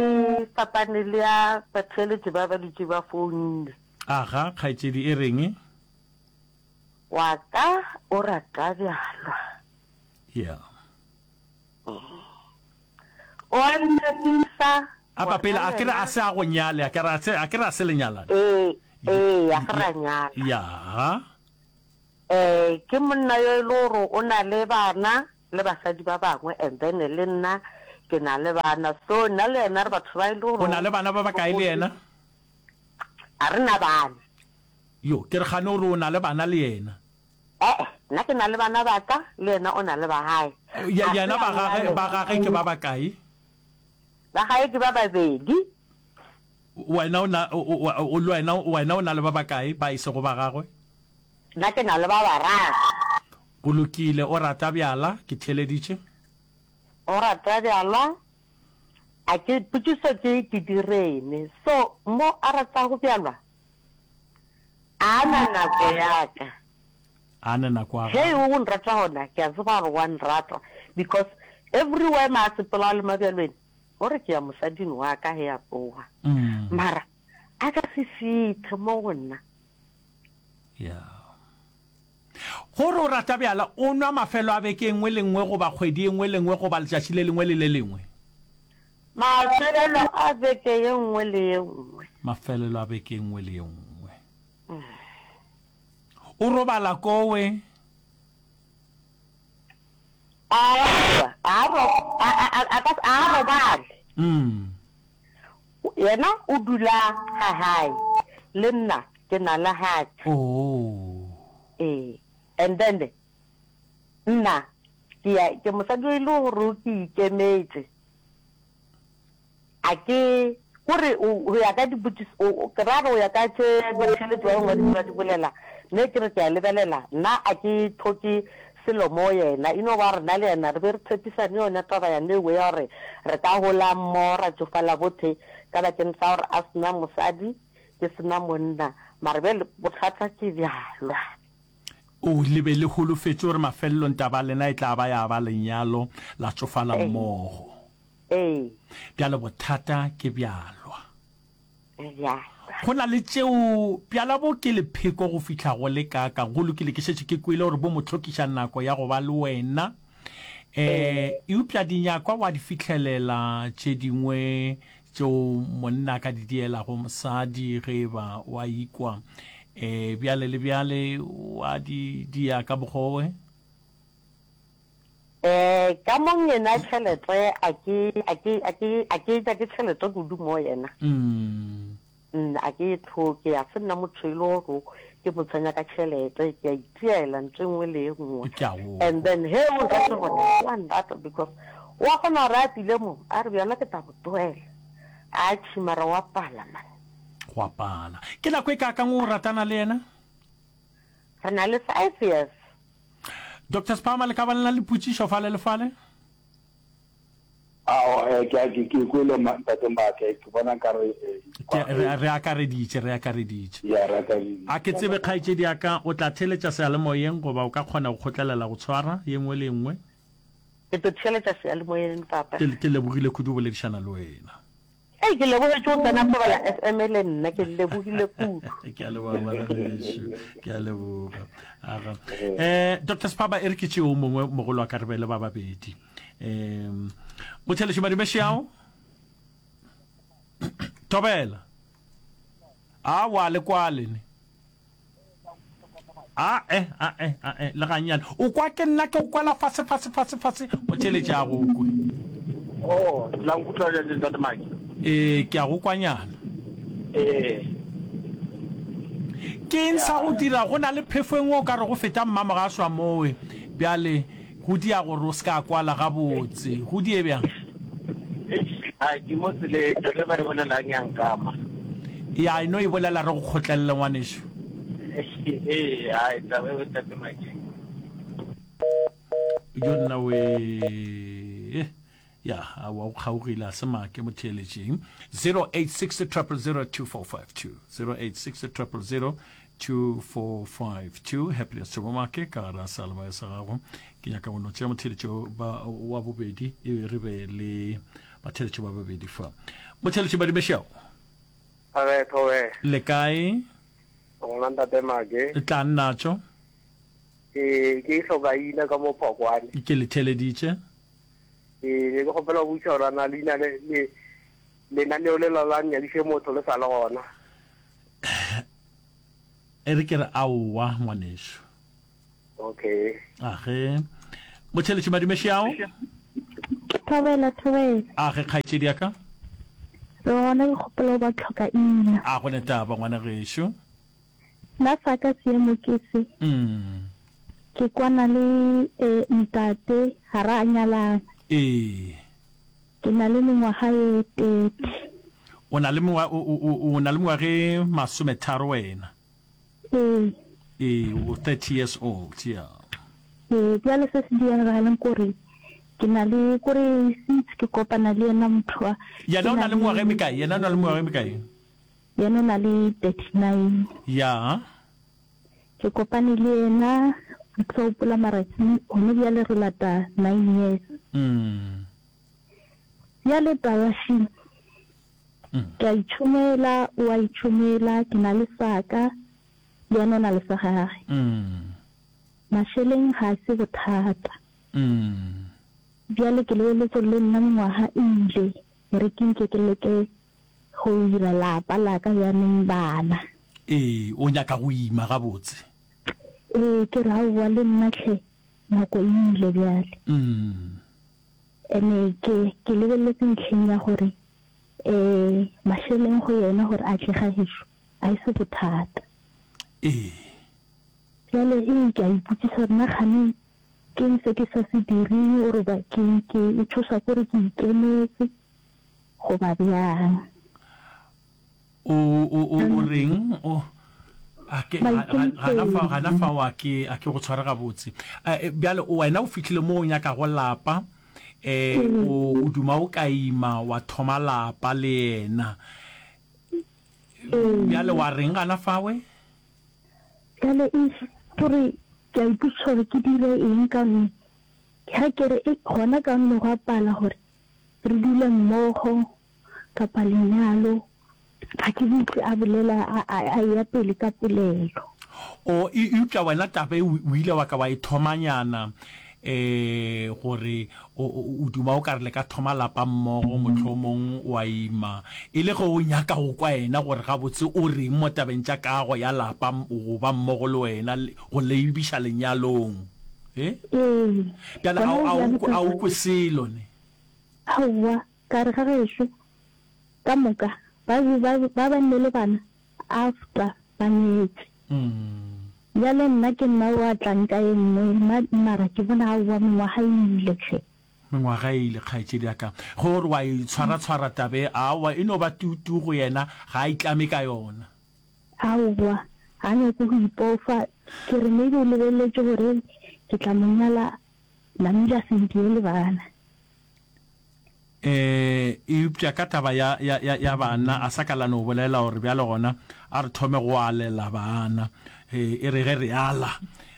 fapane le ya batheeletši ba ba dutše ba founile. Aga, kgaetšedi, e reng? Wa ka o rata bjalwa. Yeah. O a ntshepisa. Apa pele a ke re a se a go nyale, a ke re a se a ke re a se le nyalane. Ee, ee, a ke ra nyala. Ya. Eh, ke monna yo e le gore o na le bana le basadi ba bangwe and then le nna ke na le bana. So nna le yena re batho ba e le gore O na le bana ba bakae le yena? A re na bana. Yo, ke re gane o re o na le bana le yena. E-e, nna ke na le bana ba ka, le yena o na le ba gae. Ye, yena ba gage, ba gage ke ba bakae? Ba gae ke ba babedi. Wena o na, o, o, o, le wena, wena o na le ba bakae ba e sego ba gagwe? Nna ke na le ba bararo. Go lokile, o rata bjala, ke theeleditše. O rata bjala, a ke, potšišo ke, ke direne. So, mo a ratago bjalwa, A na nako ya ka. A na nako ya Ge o nrata gona ke a tseba gore wa nrata because everywhere ma a sepela le mabjalweni o re ke ya mosading wa ka ge a tloga. Mara a ka se fihle mo go nna. Yeah. Gore o rata bjala, o nwa mafelo a beke e nngwe le nngwe goba kgwedi e nngwe le nngwe goba letšatši le lengwe le le lengwe? Mafelelo a beke ye nngwe le ye nngwe. Mafelelo a beke e nngwe le ye nngwe. O robala kowe? Aowa, a ro, a, a, a, a ka, a robale. Mm. Yena o dula ga gae, le nna ke na le ga ka. Oh. Ee, and then nna ke ya, ke mosadi o e le gore ke ikemetše. A ke, kore o, go ya ka dipotšišo, o, o, ke ra gore go ya ka tše batheeletši ba bangwe ba di bolela, mme ke re ke a lebelela, nna a ke hloke selo mo yena, e no ba gore nna le yena re be re tshepisane yona taba yane ewe ya gore re ka gola mmogo ra tšofala bothe ka bakeng sa gore a se na mosadi, ke se na monna, mara bjale bothata ke bjalwa. O, le be le holofetše gore mafelelong taba ya lena e tla ba ya ba lenyalo, la tšofala mmogo. Ee. Bjale bothata ke bjalwa. Bjalwa. Go na le tšeo, bjala bo ke lepheko go fihla go le kaakang. Go lokile, ke šetše ke kwele gore bo mo hlokiša nako ya go ba le wena. Eh, eupša dinyakwa wa di fihlelela tše dingwe tšeo monna a ka di dielago mosadi ge e ba wa ikwa. Eh, bjale le bjale wa di dia ka mokgwa owe. Eh, ka mo yena tšhelete a ke a ke a ke a ke nyake tšhelete kudu mo yena. Mm. Mm, a ke e tlhoke, a se nna motho e le gore ke mo tshwenya ka tšhelete, ke a itiela ntho e nngwe le e nngwe. Ke a go. And then he o nrate gona, wa nrata because wa kgona gore a tlile mo, a re bjona ke tla go tlohela. Atšhi mara wa pala man. Gwa pala. Ke nako e kaakang o ratana le yena? Re na le five years. Doctor Sphama, le ka ba le na le potšišo fale le fale? Ao, eh, ke, ke, ke kwele ntate Mbake, ke bona nkare, eh, Ke, re, re akareditše, re akareditše. Ya, re akareditše. A ke tsebe, kgaetšedi ya ka, o tla theeletša seyalemoyeng goba o ka kgona go kgotlelela go tshwara ye nngwe le ye nngwe? Ke tlo theeletša seyalemoyeng, papa. Ke, ke lebogile kudu go boledišana le wena. Hei, ke lebogetše go tsena Thobela FM le nna, ke lebogile kudu. Ke a leboga ngwanešu, ke a leboga. Aga. Eh, Dr. Sphaba e re ke tšeo mongwe mogolo wa ka re be le ba babedi. Um, Motheletši Madumešeao. Thobela. A wa le kwale ne. A e, a e, a e, le gannyane. O kwa ke nna ke o kwela fase, fase, fase, fase, o theeletše a go kwe. Oh, la nkutlwa bjale Ntate Mike? Ee, ke a go kwanyana. Ee. Ke eng sa go dira go na le phefo e nngwe o ka re go feta mmamogaswa mowe bjale go dia gore o se ka kwala gabotse. Go die bjang? Eish, a ke mo tseleng, taba e ba e bolelang ya nkama. Ya, e no e bolela re go kgotlelele ngwanešu. Ee, hai, taba e Ntate Mike. Jo nna we. Ya, aowa o kgaogile a se make mo theeletšeng. 086 000 2452. 086 000 2452. Happiness Tshobomake ka gare ga seyalemoya sa gago. Ke nyaka go no tšea motheeletšo ba wa bobedi e be re be le batheeletšo ba babedi fa. Motheeletši Badimešao. Thobela, thobela. Le kae? Gona Ntate Make. Tla nnatšo. Ee, ke hlokaina ka mo Phokwane. Ke le theeleditše. Ee, ne ke kgopela go botšiša gore a na leina le, le, lenaneo le la la Nyadiše Motho le sa le gona? E re ke re aowa, ngwanešu. Okay. Age. Motheeletši madume šiao. Thobela, thobela. Age, kgaetšedi ya ka. Re gona ke kgopela go ba tlhokaina. A go ne taba, ngwana gešo. Nna sa ka seemo ke se. Ke kwana le ntate ga ra nyalana. Ee. Ke na le mengwaga ye 30. O na le mengwa, o, o, o na le mengwaga e masometharo wena? Ee. Ee, o 30 years old, yeah. Ee, bjale se se diragalang ke gore ke na le, kore since ke kopana le yena motho wa. Yena o na le mengwaga e mekae? Yena o na le mengwaga e mekae? Yena o na le 39. Ya. Ke kopane le yena, ga ke sa gopola mara gone bjale re lata nine years. Mm. Bjale taba še, ke a itšhomela, o a itšhomela, ke na le sa ka, le yena o na le sa gage. Mm. Mašeleng ga se bothata. Mm. Bjale ke lebeletše gore le nna mengwaga e ile, e re ke nke ke leke Go dira lapa la ka bjaneng bana. Ee, o nyaka go ima gabotse. Ee, ke re aowa le nna hle, nako e ile bjale. Mm. Ene ke, ke lebeletse ntlheng ya gore um mašeleng go yena gore a tle ga gešo a e se bothata. Ee. Bjale ee, ke a ipotšiša gore na kgane keng se ke sa se direng or ba ke, ke e tšhošwa ke gore ke ikemetse. Goba bjang? O, o, o, o reng? O, a ke, ga, ga, gana fao, gana fao a ke, a ke go tshware gabotse. Eh, bjale, wena o fihlile mo o nyakago lapa, eh, o, o duma o ka ima wa thoma lapa le yena. Bjale wa reng gana fawe? Bjale, eish, ke re, ke a ipotšiša gore ke dire eng ka gonne ge ke re, ei, gona ka gonne go a pala gore Re dule mmogo kapa lenyalo, ga ke utlwe a bolela a, a, a eya pele ka polelo. O, e, eupša wena taba e o, o ile wa ka wa e thomanyana, e, gore o, o, o duma o ka re le ka thoma lapa mmogo, mohlomong wa ima, e le ge o nyaka go kwa yena gore gabotse o reng mo tabeng tša kago ya lapa, go ba mmogo le wena, go lebiša lenyalong. E? Ee. Bjale a, a, a o kwe selo ne? Aowa, ka re ga gešo ka moka ba be ba ba ba nne le bana after ba nyetše. Bjale nna ke nna o a tlang ka e nngwe ma mara ke bona aowa mengwaga e ile hle. Mengwaga e ile kgaetšedi ya ka. Ge o re wa e tshwara-tshwara taba e, aowa e no ba tuu-tuu go yena, ga a itlame ka yona. Aowa, ga a nyake go ipofa. Ke re maybe o lebeletše gore ke tla mo nyala namile a se ntiele bana. Ee, eupša ka taba ya, ya, ya, ya bana, a sa ka la no bolela gore bjale gona a re thome go alela bana. Ee, e re ge re ala,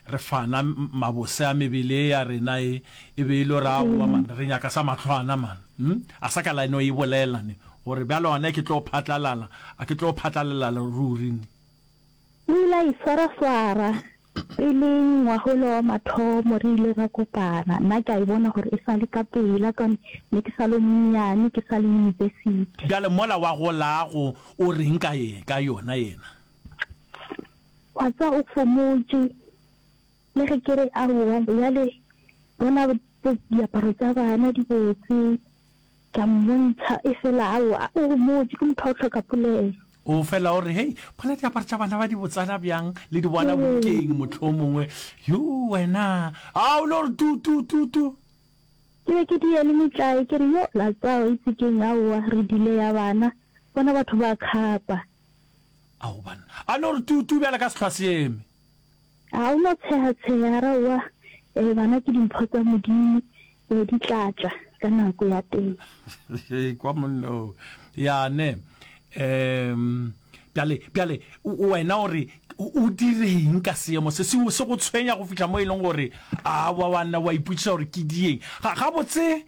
re fana mabose a mebele e ya rena e, e be e le gore aowa man, re nyaka sa mahlwana man. Hm? A sa ka la no e bolela ne, gore bjale gona ke tlo phatlalala, a ke tlo phatlalelala ruri ne. O ile a iswaraswara Pele ngwaga ola wa mathomo re ile ra kopana, nna ke a e bona gore e sa le ka pela ka ne ke sa le monnyane, ke sa le university. Bjale mola wa golago o reng ka ye, ka yona yena? Wa tseba o fomotše, le ge ke re aowa bjale bona diaparo tša bana di botse, Ke a mmontšha, efela aowa, o homotše, ke motho wa go hloka polelo. O fela o re, Hei, bona diaparo tša bana ba di botsana bjang, le di bona bukeng mohlomongwe. Yo, wena, a o no re tu, tu, tu, tu. Ke be ke dia le metlae, ke re, Yo, la tseba, itse ke'ng, aowa, re dile ya bana, bona batho ba khapa. Ao, banna, a no re tu, tu bjale ka sehlwa se eme. A o no tsheha-tsheha, ra owa, ee, bana ke dimpho tsa Modimo, ee, di tla tla ka nako ya teng. Kwa monna o. Ya ne. Um, bjale, bjale, wena o re, o direng ka seemo se? Se, se go tshwenya go fihla mo e leng gore, a wa, wa nna wa ipotšiša gore ke dieng. Ga, gabotse,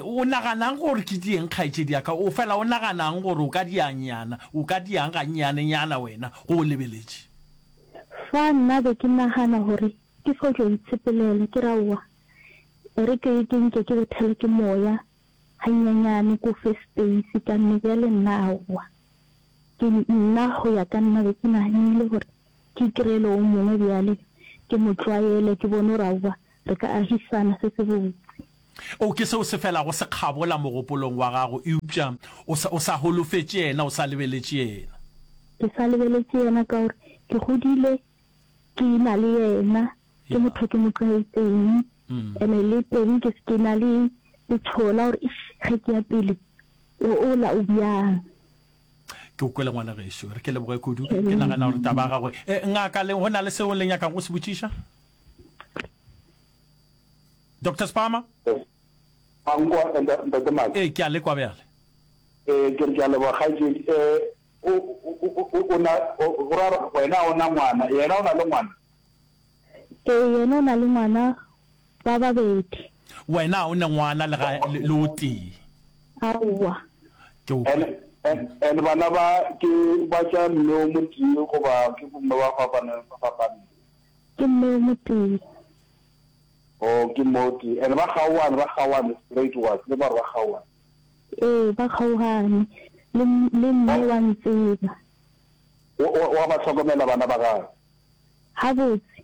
o naganang gore ke dieng, kgaetšedi ya ka? O fela o naganang gore o ka diang-nyana, o ka diang gannyanenyana wena, go o lebeletše? Fa nna be ke nagana gore. Ke fo tlo itshepelela, ke re aowa, e re ke ke nke ke bethele ke moya ganyenyane ko fe space ka nne bjale nna aowa. Ke nna go ya ka nna be ke naganile gore ke ikrele o mongwe bjale ke mo tlwaele ke bone gore aowa re ka agisana se se botse. O ke seo se felago se kgabola mogopolong wa gago eupša o sa o sa holofetše yena, o sa lebeletše yena. Ke sa lebeletše yena ka gore ke godile ke na le yena, ke motho ke mo tlwaetseng, ene le teng ke ke na le letšhogo la gore eish ge ke ya pele o ola o bjang. Ke o kwele ngwana gešo, re ke leboge kudu. Ke nagana gore taba ya gagwe. E, ngaka, le go na le seo le nyakago go se botšiša? Doctor Spama? A nkwa, Ntate Maki? Ee, ke a le kwa bjale. Ee, ke re ke a leboga kgaetšedi. Eh, o, o, o, o na, o, go ra gore wena o na ngwana, yena o na le ngwana? Ee, yena o na le ngwana ba babedi. Wena o ne ngwana le ga, le, le o tee? Aowa. Ke o. And, and, and bana ba ke ba tša mme o motee goba ke bomme ba fapaneng, ba fapaneng? Ke mme o motee. Oh, ke mme o tee. And ba kgaoane, ba kgaoane straight wa tseba gore ba kgaoane. Ee, ba kgaogane. Le, le mme wa ntseba. O, o, wa ba hlokomela bana ba gagwe? Gabotse.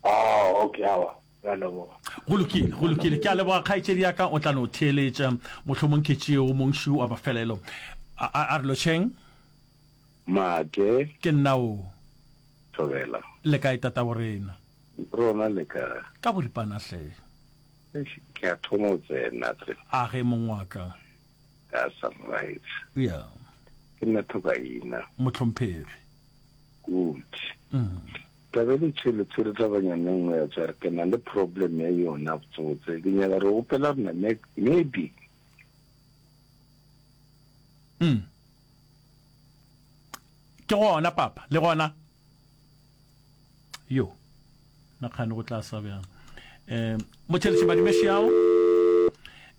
Oh, okay, aowa, re a leboga. Go lokile, go lokile. Ke a leboga, kgaetšedi ya ka, o tla no theeletša. Mohlomong ke tšeo, mongšu wa mafelelo. A, a, a re lotšheng. Make. Ke nna o. Thobela. Le kae, tataborena? Rona le kae? Ka boripana hle. Eish, ke a thoma go tsena tle. A ge mong wa ka. That's right. Yeah. Ke nna Thokaina. Mohlomphegi. Good. Mm. Taba le tshwele tshwere tabanyana e nngwe ya tsware ke na le problem ya yona botsebotse ke nyaka re gopela rena maybe mm. Ke gona papa le gona Yo, na kgane go tla sa bjang. Um, motšheletše Madimešiao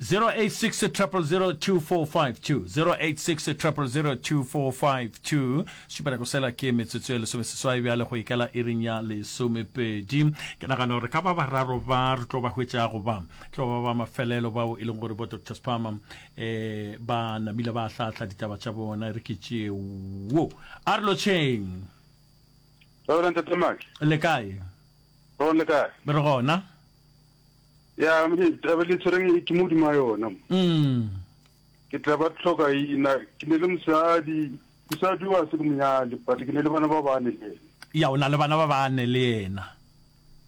086 0002452 086 0002452 šupela sela ke metsotso ya lesomeseswai bjale go ikela iring ya lesomepedi ke nagana gore ka ba bararo ba re tlo ba hwetšago ba tlo ba ba mafelelo bao e leng gore bo dr spama um ba namile ba hlahla ditaba tša bona re ke tšeo a re lotšheng Reverend Ntate Maki. Le kae? Re le kae? Re gona. Ya, taba le tshwereng ke modimo wa yona. Mm. Ke tla ba tlhoka ina, ke ne le mosadi, mosadi wa se ke monyale, but ke ne le bana ba bane le yena. Ya, o na le bana ba bane le yena.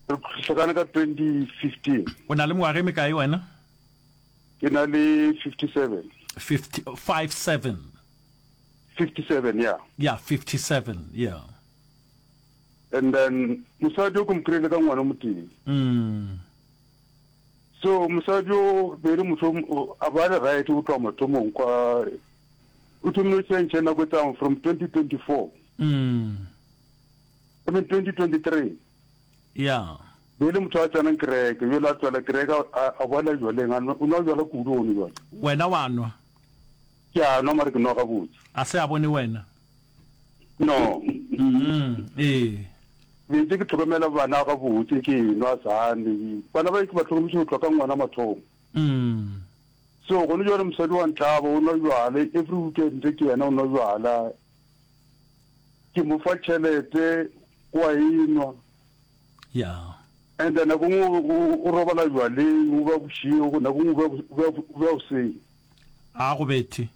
Re hlokane ka 2015. O na le mengwaga e mekae wena? Ke na le 57. 50, 57. 57, yeah. Yeah, 57, yeah. And then mosadi o ke mo kry-ile ka ngwana o motee. Mm. So mosadi o be le motho a ba le right go tloga mathomong kwa o thomile go change nako e tlang from 2024. Mm. I mean 2023. Yeah. Be le motho a tsenang kereke, jwale a tswela kereke a boela jwaleng, o nwa jwala kudu gone jwale. Wena wa nwa? Ke a nwa mare ke nwa gabotse. A se a bone wena? No. Mm, ee. Be ntse ke tlhokomela bana gabotse ke nwa sane. Bana ba ke ba tlhokometše go tloga ka ngwana mathomo. Mm. So gone jwale mosadi wa ntlaba o nwa jwala every weekend ke yena o nwa jwala. Ke mo fa tšhelete o a e nwa. Yeah. And then nako nngwe o robala jwaleng o ba bošego nako nngwe o ba goseng. A go bethe.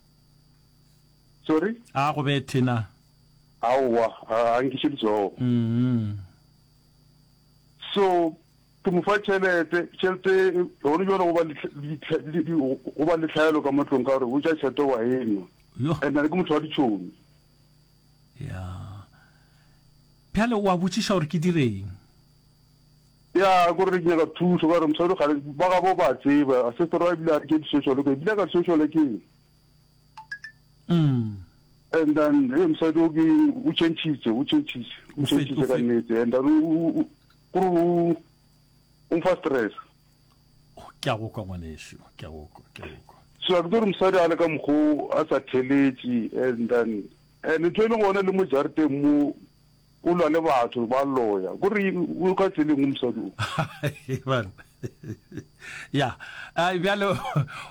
Sorry? A go bethe na? Aowa, a nkiše letsogo. Mm. So ke mo fa tšhelete, tšhelete gone jwale go ba go ba le tlhaelo ka mo tlong ka gore o ja tšhelete wa e nwa. And then ke motho wa ditšhomi. Ya. Bjale o a botšiša gore ke direng? Ya, ko re ke nyaka thuso ka gore mosadi gare ba gabo ba tseba, sister wa ebile a re ke di-social worker, ebile ka di-social workeng. Mm. And then hey, mosadi o ke o changitse, o changitse, o changitse ka nnete and then o kore o o mfa stress. Ke a go kwa ngwanešu, ke a go kwa, ke a go kwa. So a ke tsore mosadi a le ka mokgo a sa theletše and then and ntho e leng gona le mo jarateng mo. O lwa le batho, ba loya. Ko re o ka tseleng o mosadi o. Banna. Ya. Ai bjale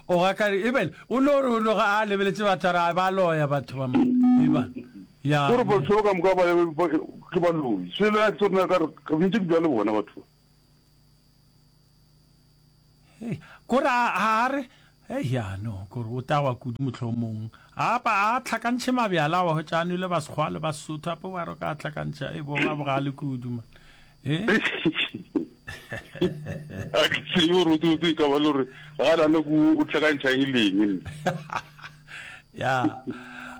o ga ka ebele o no re o no ga a lebeletše batho a re a ba loya batho ba mo. Eba. Ya. Ko re batho ba ka moka ba ke ba loi. Se le ke tsona ka re ntse ke bua le bona batho. Hei, ko re a a re hei ya no ko re o tagwa kudu mohlomong. A pa a tlhakantšhe mabjala wa hwetša a nwele ba Sekgowa le ba Sesotho ape wa re o ka a tlhakantšha e bo ba bogale kudu man. Eh? A ke tsebe gore o tsebe e ka ba le gore ga nane ko o tlhakantšha eng le eng nna. Ya.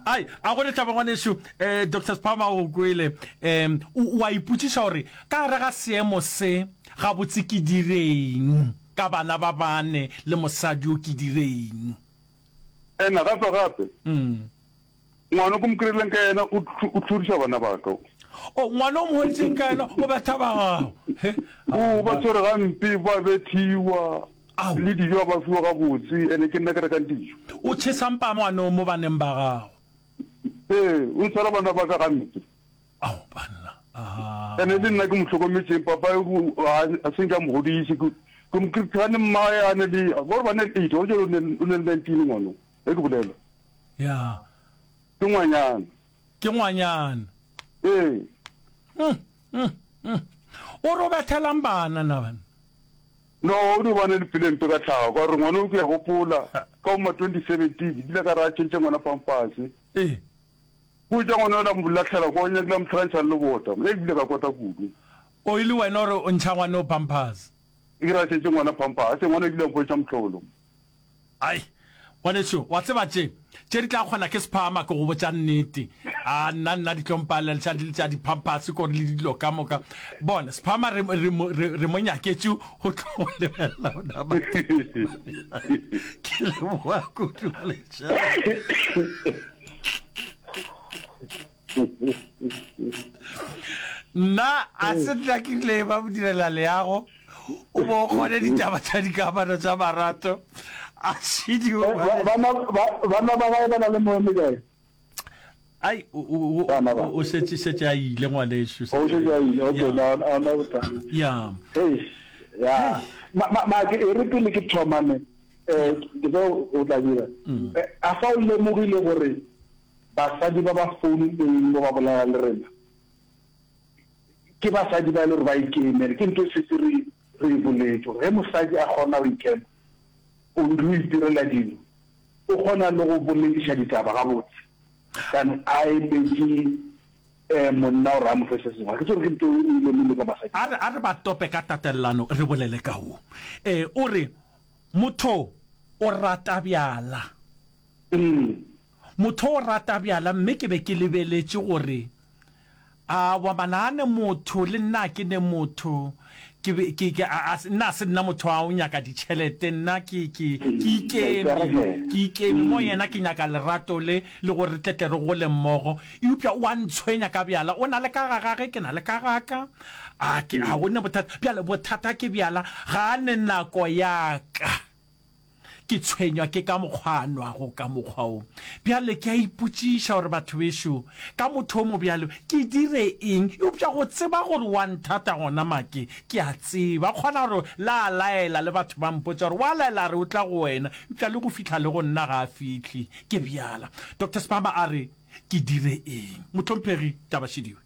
Ai, a go lethabo ngwanešu, eh Doctor Sphama o go kwele. Um o a ipotšiša gore ka gare ga seemo se gabotse ke direng ka bana ba bane le mosadi yo ke direng? Ena gape gape. Mm. Ngwana o ke mo kry-ileng ka yena o o hloriša bana ba ka. O ngwana o mo hweditseng ka yena o betha ba gago. He. O ba tshwere gampe, ba bethiwa. Ao. Le dijo ga ba fiwa gabotse, ene ke nna ke rekang dijo. O tšhesa mpa ngwana o mo baneng ba gago. Ee, o tshwara bana ba ka gampe. Ao banna. Aha. Ene le nna ke mo hlokometšeng, papa a se nke a mo godiše. Ke ke mo kry-a mmae a ne le, gore ba ne le eight, gore jalo o ne le 19 ngwana o, ge ke bolela. Ya. Ke ngwanyana. Ke ngwanyana. Ee. Mm, mm, mm. O re o bethelang bana na bana? No, o no ba ne le pelo e mpe ka tlhago, ka gore ngwana o ke a gopola, ka bo ma 2017, ke kile ka re a tšhentšhe ngwana pampase. Ee. Go etša ngwana yola a mo lahlela kwa, o nyakile a mo hlakantšha le lebota. E bile ka kwata kudu. O e le wena o re o ntšha ngwana o pampase? Ke re a tšhentšhe ngwana pampase, ngwana o kile a mpontšha mohlolo. Ai, ngwanešu, wa tseba tše, tše di tla kgona ke sephama, ke go botša nnete. A, nna, nna di tlo mpalela tša, tša di-pampers kore le dilo ka moka. Bona, sephama re, re, re, re mo nyaketše go tlo go lebelela ona batho. Ke leboga kudu, ngwanešu. Nna a se nna ke rile ba mo direla leago o bo o kgone ditaba tša dikamano tša marato a šidiwe eh, bana ba gae ba na le moeme kae ai o šetše šetše a ile ngwanešu o šetše a ile okay na a na bothata ya hey ya ma ma ke e re pele ke thoma ne eh ke tlo o tla dira mm. eh, a fa o lemogile gore Basadi ba ba founileng mo ba bolela le rena ke basadi ba e le gore ba ikemele. Ke ntho e setse re re e boletše gore ge mosadi a kgona go ikema, o o itirela dilo, o kgona le go bolediša ditaba gabotse than a emetše um monna gore a mo fe se sengwe. Ga ke tsebe gore ke ntho e o e lemogile ka basadi. A re, a re ba tope ka tatelano re bolele ka wo. E, o re, Motho o rata bjala. Motho o rata bjala mme ke be ke lebeletše gore awa mana a ne motho le nna ke ne motho ke be ke ke a a nna a se nna motho wa go nyaka ditšhelete nna ke ke ke ikeme ke ikeme mo yena ke nyaka lerato le le gore re tle tle re gole mmogo eupša o a ntshwenya ka bjala o na le ka ga gage ke na le ka ga ka a ke ga go ne bothata bjale bothata ke bjala ga a ne nako ya ka. Ke tshwenywa ke ka mokgwa a nwago ka mokgwa wo. Bjale ke a ipotšiša gore batho bešo, ka motho o mobjalo, ke dire eng? Eupša go tseba gore o a nthata gona, Make, ke a tseba. Kgona gore la a laela le batho ba mpotša gore o a laela a re o tla go wena, eupša le go fihla le go nna ga a fihle. Ke bjala. Doctor Sibamba a re, Ke dire eng? Mohlomphegi, taba šediwe.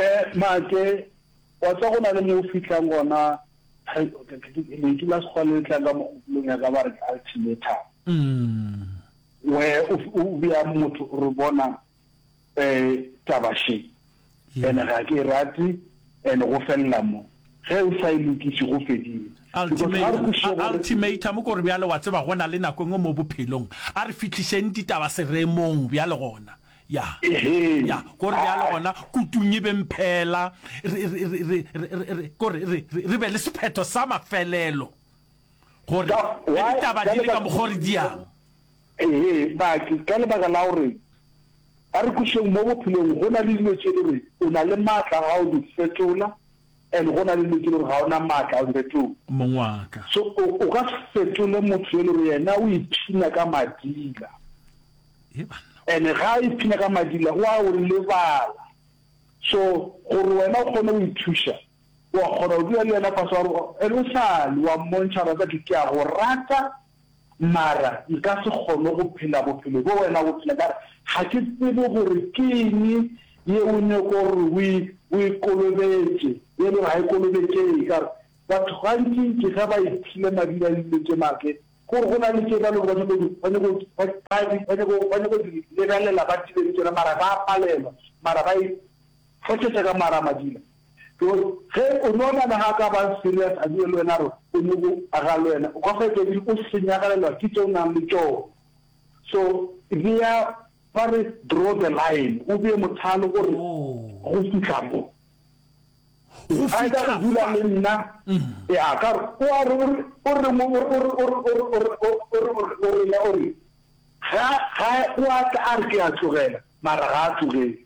Eh, Make, wa tseba go na le mo o fihlang gona Lentšu la Sekgowa le le tlang ka mogopolong ya ka ba re ke ultimatum. Where o o bea motho o re bona um taba še and ga ke e rate and go felela mo. Ge o sa e lokiše go fedile. Because ga re kwešiše gore. Ultimatum ke gore bjale wa tseba go na le nako e nngwe mo bophelong a re fihlišeng ditaba seremong bjale gona Ya. Ehe. Ya, ko re bjale gona kutung e be mphela, re, re, re, re, re, re, re, ko re, re, re, re be le sephetho sa mafelelo, gore Ka, ge why, ditaba ka di le ka lebaka, mokgwa o re di yang. Ehe, Baki, ka lebaka la gore, a re kwešeng mo bophelong go na le dilo tše le gore o na le maatla a go di fetola and go na le dilo tše le gore ga o na maatla a go di fetola. Mong wa ka. So o, o ka se fetole motho yo le gore yena o ipshina ka madila. He banna. And ga a ipshina ka madila o a o lebala. So gore wena o kgone go ithuša, wa kgona go dula le yena fase wa re, and o sa le wa mmontšha gore wa tseba ke a go rata mara nka se kgone go phela bophelo bo wena o bo phela ka gore ga ke tsebe gore ke eng ye o nyoko gore o e o e kolobetše ye e le gore ga e kolobetšege ka gore batho gantši ke ge ba iphile madila le dilo tše make gore go na le tše ba le gore ba nyako ba nyako ba ba nyako ba nyako di lebelela ba dile le tšona mara ba palelwa mara ba e hlohletša ka mara madila Because ge o no nagana ga a ka ba serious a dula le wena a re o nyoko aga le wena, o ka hwetša ebile o senyagalelwa ke tše o nang le tšona. So bea, ba re draw the line, o bee mothalo o re go fihla mo. Go A ka fihla go dula fa. le nna, ya ka gore o a re o re o re mo o re o re o re o re o re o re o re o re ga ga o a tla a re ke a tlogela mara ga a tlogele.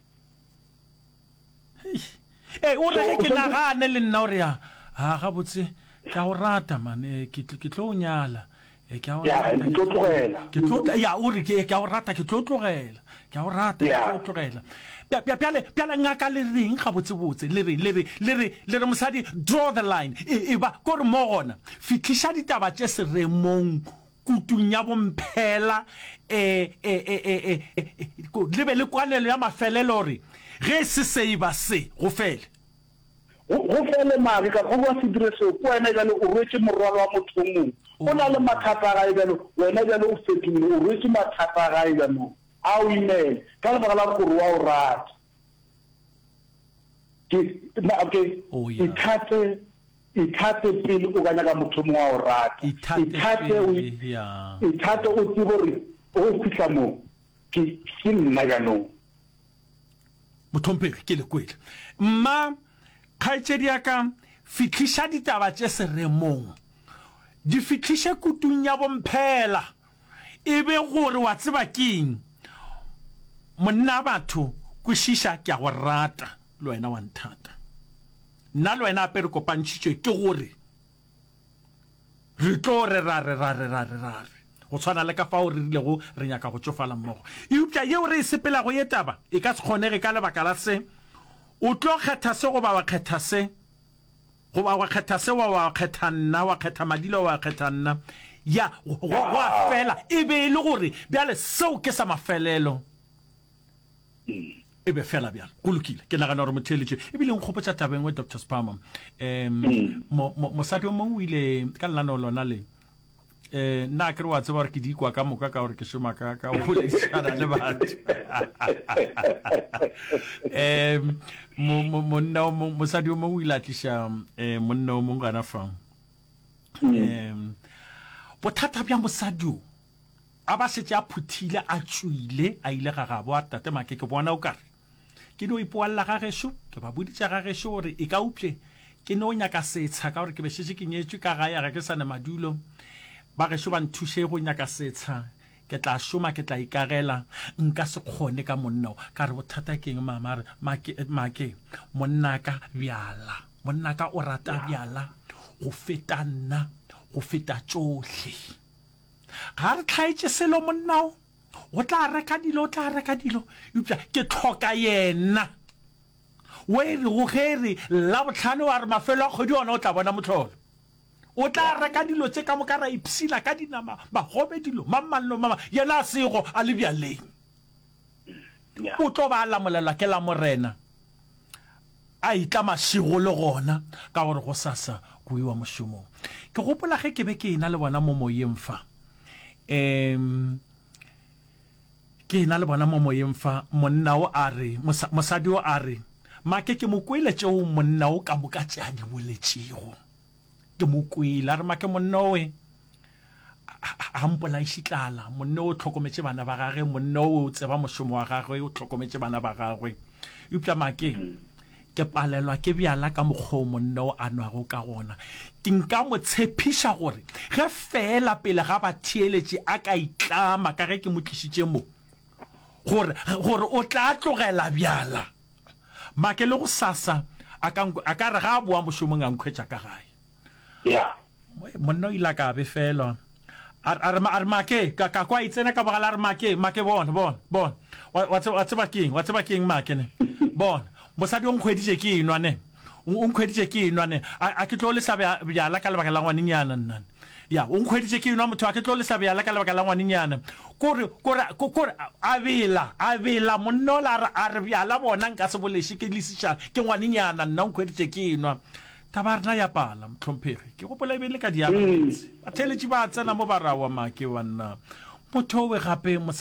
Ee, o re ge ke nagane le nna o re ya, ha gabotse ke a o rata man, eh, ke ke tlo o nyala. Eh, ke a o Ya, rata. ke tlo tlogela. Ke tlo ya o re ke ke a o rata ke tlo tlogela. Ke a o rata ke tlo tlogela. Bja- bja- Bjale bjale ngaka le reng gabotse botse le re le re le re le re mosadi draw the line e, e ba ko re mo gona fihliša ditaba tše seremong Kutung ya bomphela e, e, e, e, e, e, le be le kwanelo ya mafelelo gore ge se se e ba se, go fele. Go, go fele mare, ka go ba se dire seo, ke wena bjale o rwetše morwalo wa motho o mongwe. O na le mathata a gae bjalo, wena bjale o fetogile, o rwetše mathata a gae bjanong. A o imele, ka lebaka la gore o re o a o rata. Ke, na, ke, Oh, ya. ithate, ithate pele o ka nyaka motho o mongwe wa o rata. Ithate Ithate o, pele, ya. ithate o tsebe gore go fihla mo, ke, ke nna bjanong. Mohlomphegi, ke le kwele. Mma, kgaetšedi ya ka, fihliša ditaba tše seremong. Di fihliše kutung ya bomphela. E be gore wa tseba keng, monna batho, kwešiša, ke a go rata, le wena wa nthata. Nna le wena ape re kopantšhitšwe ke gore re tlo re ra re ra re ra re ra re, go tshwana le ka fao re rilego re nyaka go tšofala mmogo. Eupša yeo re e sepelago ye taba e ka se kgonege ka lebaka la se, o tlo kgetha se goba wa kgetha se. Goba wa kgetha se, wa, wa kgetha nna, wa kgetha Madila, wa kgetha nna. Ya, go, go a fela. E be e le gore bjale seo ke sa mafelelo. E be fela bjalo. Go lokile. Ke nagana gore motheeletši, ebile nkgopotša taba e nngwe, Doctor Spama. Um, mo, mo, mosadi o mongwe o ile ka lenaneo lona le. Eh, nna akere wa tseba gore ke di kwa ka moka ka gore ke šoma ka ka go boledišana le batho. Um, mo, mo, monna o mong, mosadi o mongwe o ile a tliša eh, monna o mongwe gana fa. Um, bothata bja mosadi o, a ba šetše a phuthile, a tšwile, a ile ga gabo, a re, Tate Make, ke bona o kare Ke no ipoalla ga gešo, ke ba boditše ga gešo gore e ka upše ke no nyaka setsha ka gore ke be šetše ke nyetšwe ka gae ga ke sa ne madulo. Ba gešo ba nthuše go nyaka setsha, ke tla šoma ke tla ikagela, nka se kgone ka monna o. Ka re bothata ke eng mama? A re Make, Make, monnaka bjala, monnaka o rata bjala go feta nna, go feta tšohle. Ga re hlaetše selo monna o. O tla reka dilo, o tla reka dilo, eupša ke hloka yena. O e rego ge e re Labohlano wa re mafelo a kgwedi ona o tla bona mohlolo. O tla reka dilo tše ka moka ra ipshina ka dinama, magobe, dilo, mang mang le mang, yena a sego a le bjaleng. O tlo ba a lamolelwa ke Lamorena, a etla mašego le gona, ka gore gosasa go iwa mošomong. Ke gopola ge ke be ke ena le bona mo moyeng fa. Um, ke ena le bona mo moyeng fa, monna o a re, mosadi o a re, Make, ke mo kwele tšeo monna o ka moka tše a di boletšego. Ke mo kwele, a re, Make, monna owe, a mpolaiše tlala. Monna o hlokometše bana ba gagwe, monna o o tseba mošomo wa gagwe, o hlokometše bana ba gagwe. Eupša Make, Ke palelwa ke bjala ka mokgwa o monna o a nwago ka gona. Ke nka mo tshepiša gore ge feela pele ga batheeletši a ka itlama ka ge ke mo tlišitše mo, gore, gore o tla tlogela bjala. Make le gosasa a ka, a ka re ga a boa mošomong a nkhwetša ka gae. Ya. Monna o ile a ka a befelwa. A, a re, a re, Make, ka, ka kwa e tsena ka bogale, a re, Make, Make, bona, bona, bona. Wa, wa tseba, wa tseba ke eng, wa tseba ke eng, Make, ne? Bona. Mosadi o nkhweditše ke enwa ne. O nkhweditše ke enwa ne. A, a ke tlo lesa bja, bjala ka lebaka la ngwanenyana nna ne. Ya, o nkhweditše ke enwa motho, a ke tlo lesa bjala ka lebaka la ngwanenyana. Kore, kore, kore, a bela, a bela monna ola a re, a re bjala bona nka se bo leše ke lesiša ke ngwanenyana nna o nkhweditše ke enwa. Taba ya rena ya pala, mohlomphegi. Ke gopola e be e le ka diabameetse. Batheeletši ba tsena mo ba re aowa make banna. Motho owe gape mosadi.